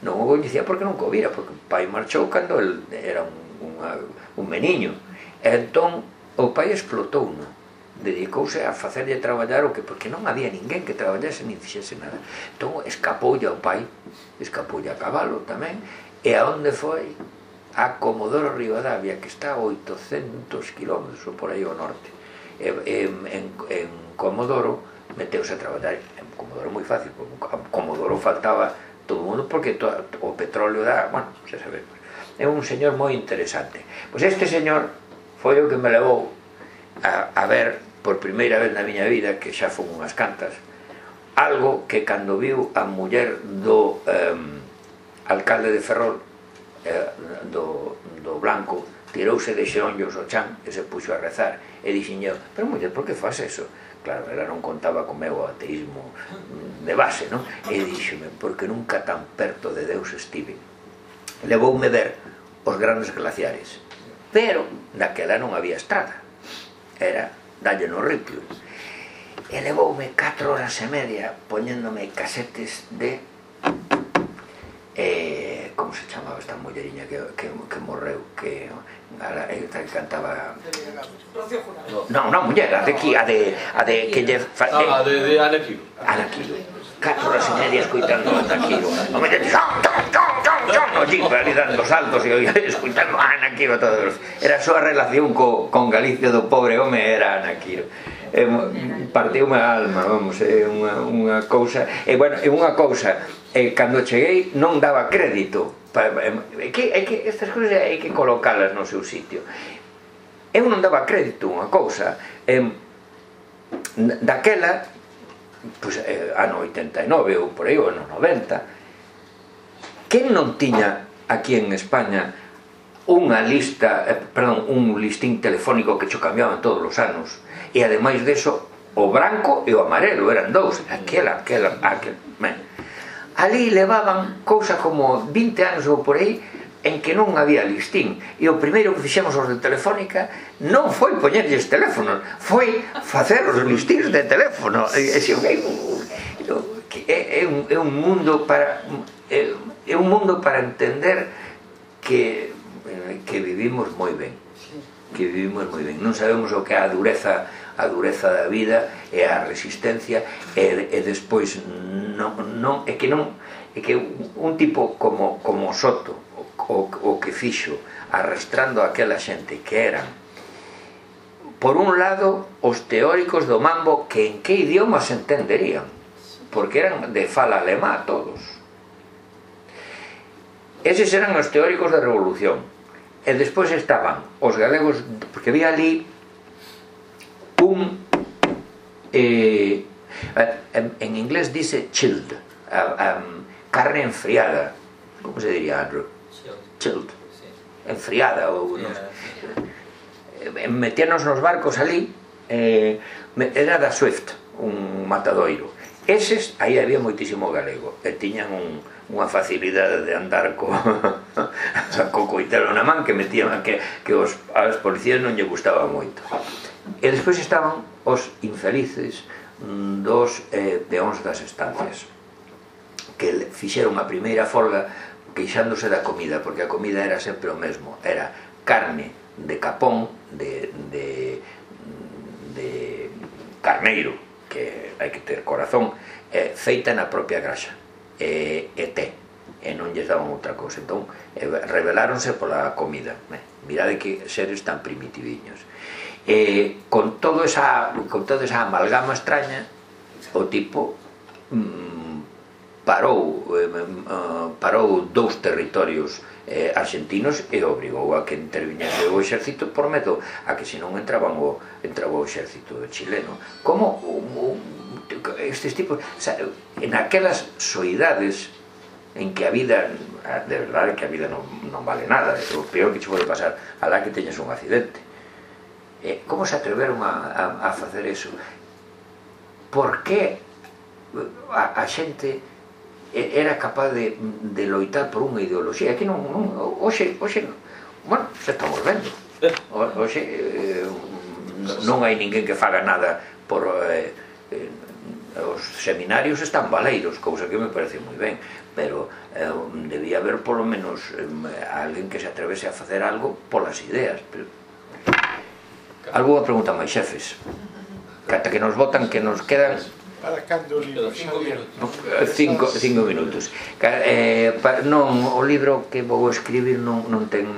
non o coñecía porque non o vira, porque o pai marchou cando el era un, unha, un meniño, e entón o pai explotou, non? Dedicouse a facerlle traballar o que, porque non había ninguén que traballase nin fixese nada. Entón escapoulle ao pai, escapoulle a cabalo tamén, e a onde foi? A Comodoro Rivadavia, que está a oitocentos kilómetros ou por aí ao norte. E, en, en, en Comodoro meteuse a traballar. En Comodoro moi fácil, porque a Comodoro faltaba todo o mundo porque to, o petróleo da, bueno, se sabe. É un señor moi interesante. Pois este señor foi o que me levou a, a ver por primeira vez na miña vida, que xa fun unhas cantas, algo que cando viu a muller do eh, alcalde de Ferrol, eh, do, do Blanco, tirouse de xeonllos ao chan e se puxo a rezar e dixen eu, pero muller, por que faz eso? Claro, ela non contaba co meu ateísmo de base, non? E díxome, porque nunca tan perto de Deus estive. Levoume ver os grandes glaciares, pero daquela non había estrada, era dalle no ripio, e levoume catro horas e media poñéndome casetes de eh, como se chamaba esta mulleriña que, que, que morreu, que, a, que cantaba non, non, muller, a de aquí, a de, a de que lle fa, eh, ah, de, de Anaquilo Anaquilo, catro horas e media escoitando a Anaquilo, non me dixo allí, ali dando saltos e escoitando a Anaquilo todos. Era a súa relación co, con Galicia do pobre home, era Anaquilo. É, partiume a alma, vamos, é unha, unha cousa. E bueno, é unha cousa, e cando cheguei non daba crédito. É que, é que estas cousas hai que colocalas no seu sitio. Eu non daba crédito unha cousa. E, daquela, pois, eh, ano oitenta e nove ou por aí, ou ano noventa, quen non tiña aquí en España unha lista, eh, perdón, un listín telefónico que cho cambiaban todos os anos, e ademais deso o branco e o amarelo eran dous, aquela, aquela, aquela, ben. Ali levaban cousa como vinte anos ou por aí en que non había listín, e o primeiro que fixemos os de Telefónica non foi poñerlles teléfonos, foi facer os listíns de teléfono. É, é, un, é un mundo para é, é un mundo para entender que que vivimos moi ben, que vivimos moi ben, non sabemos o que é a dureza, a dureza da vida e a resistencia, e, e despois non, non, é que non, é que un tipo como, como Soto, o, o que fixo arrastrando aquela xente que eran, por un lado, os teóricos do mambo, que en que idioma se entenderían, porque eran de fala alemá todos. Eses eran os teóricos da revolución. E despois estaban os galegos, porque había ali un eh, en, en inglés dice chilled, um, carne enfriada, como se diría, Andrew? Chilled, enfriada ou non sei. Metíanos nos barcos ali, eh, era da Swift, un matadoiro. Eses, aí había moitísimo galego, e tiñan un unha facilidade de andar co, co coitelo na man que metían que, que os, as policías non lle gustaba moito. E despois estaban os infelices dos eh, peóns das estancias, que fixeron a primeira folga queixándose da comida, porque a comida era sempre o mesmo, era carne de capón, de, de, de carneiro, que hai que ter corazón, eh, feita na propia graxa, e, e té, e non lles daban outra cousa. Entón, eh, rebeláronse pola comida. Eh, mirade que seres tan primitiviños. E con todo esa, con toda esa amalgama extraña, o tipo mm, parou, eh, uh, parou dous territorios eh, argentinos e obrigou a que interviñese o exército por medo a que se non entraban o, entraba o exército chileno. Como o, o, estes tipos, en aquelas soidades en que a vida, de verdade que a vida non, non vale nada, é o peor que che pode pasar, alá que teñas un accidente. Eh, como se atreveron a, a, a facer eso? Por que a, a xente era capaz de, de loitar por unha ideoloxía? Que non, non, hoxe, hoxe, bueno, se estamos vendo. Hoxe eh, non hai ninguén que faga nada por... Eh, eh, os seminarios están baleiros, cousa que me parece moi ben, pero eh, debía haber polo menos eh, alguén que se atrevese a facer algo polas ideas. Pero... Alguna pregunta máis, xefes? Cata que nos votan, que nos quedan... Para cando o libro? Cinco, cinco minutos. Eh, pa, non, o libro que vou escribir non, non ten...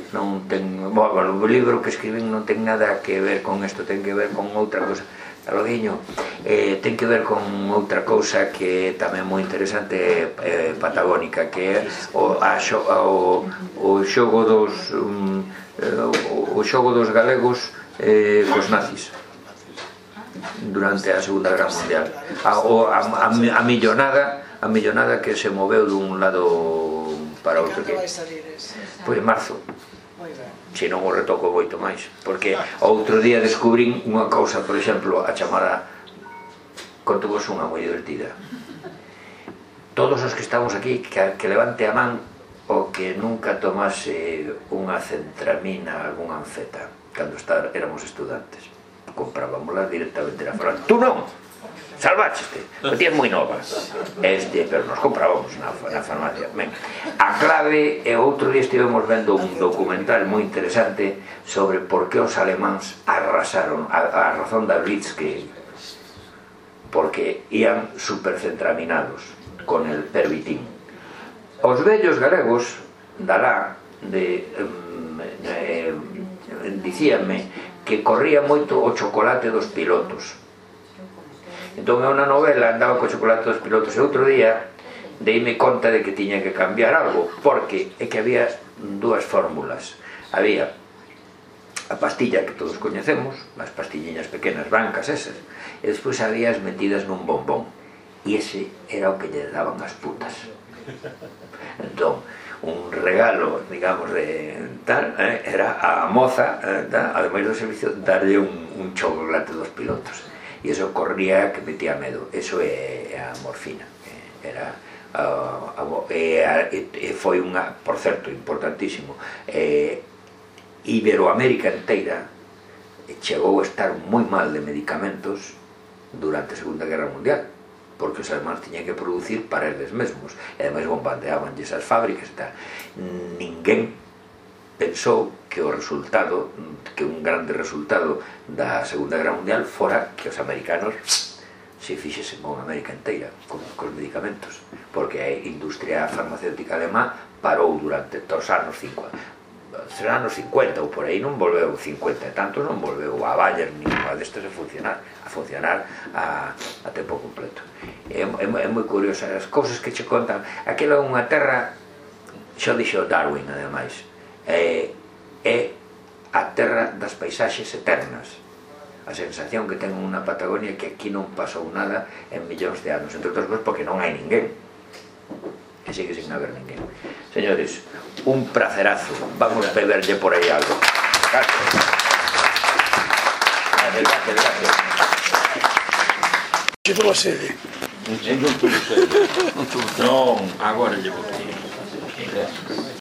Non ten bueno, o libro que escribín non ten nada que ver con isto, ten que ver con outra cosa. Aloguiño, eh, ten que ver con outra cousa que é tamén moi interesante, eh, patagónica, que é o, a xo, o, o xogo dos um, o, o xogo dos galegos eh, cos nazis durante a Segunda Guerra Mundial, a, o, a, a, a millonada a millonada que se moveu dun lado para outro. Cando vai salir ese? Pois en marzo. Moi ben. Se non o retoco moito máis, porque outro día descubrín unha cousa, por exemplo, a chamada, contovos unha moi divertida. Todos os que estamos aquí, que, que levante a man o que nunca tomase unha centramina, algunha anfeta, cando está, éramos estudantes. Comprábamoslas directamente na farmacia. Tú non! Salvácheste, o tías moi nova. Este, pero nos comprábamos na, na farmacia. Ben, a clave, e outro día estivemos vendo un documental moi interesante sobre por que os alemáns arrasaron, a, a razón da Blitzkrieg, porque ían supercentraminados con el pervitín. Os vellos galegos dalá de um, eh, dicíanme que corría moito o chocolate dos pilotos. Entón é unha novela, andaba co chocolate dos pilotos, e outro día deime conta de que tiña que cambiar algo, porque é que había dúas fórmulas. Había a pastilla que todos coñecemos, as pastilliñas pequenas blancas esas, e despois había as metidas nun bombón, e ese era o que lle daban as putas. Entón, un regalo, digamos, de tal, eh, era a moza, eh, tal, ademais do servicio, darlle un, un chocolate dos pilotos. E iso corría que metía medo. Eso é a morfina. Eh, era a, a, e, e foi unha, por certo, importantísimo, eh, Iberoamérica inteira chegou a estar moi mal de medicamentos durante a Segunda Guerra Mundial, porque os alemanes tiñan que producir para eles mesmos, e ademais bombardeaban esas fábricas e tal. Ninguén pensou que o resultado, que un grande resultado da Segunda Guerra Mundial fora que os americanos se fixesen con América inteira, con, con os medicamentos, porque a industria farmacéutica alemá parou durante os anos cincuenta, será anos cincuenta ou por aí, non volveu cincuenta e tantos, non volveu a Bayer ni a destes a funcionar, a funcionar a, a tempo completo. É, é, é moi curiosa as cousas que che contan. Aquela é unha terra, xo dixo Darwin ademais, é, é a terra das paisaxes eternas. A sensación que ten unha Patagonia que aquí non pasou nada en millóns de anos, entre outras cousas porque non hai ninguén, que sigue sin haber ninguén. Señores, un placerazo. Vamos a beberlle por aí algo. Gracias. Gracias, gracias, gracias. Que tuvo sede? Non tuvo sede. Non, agora llevo aquí.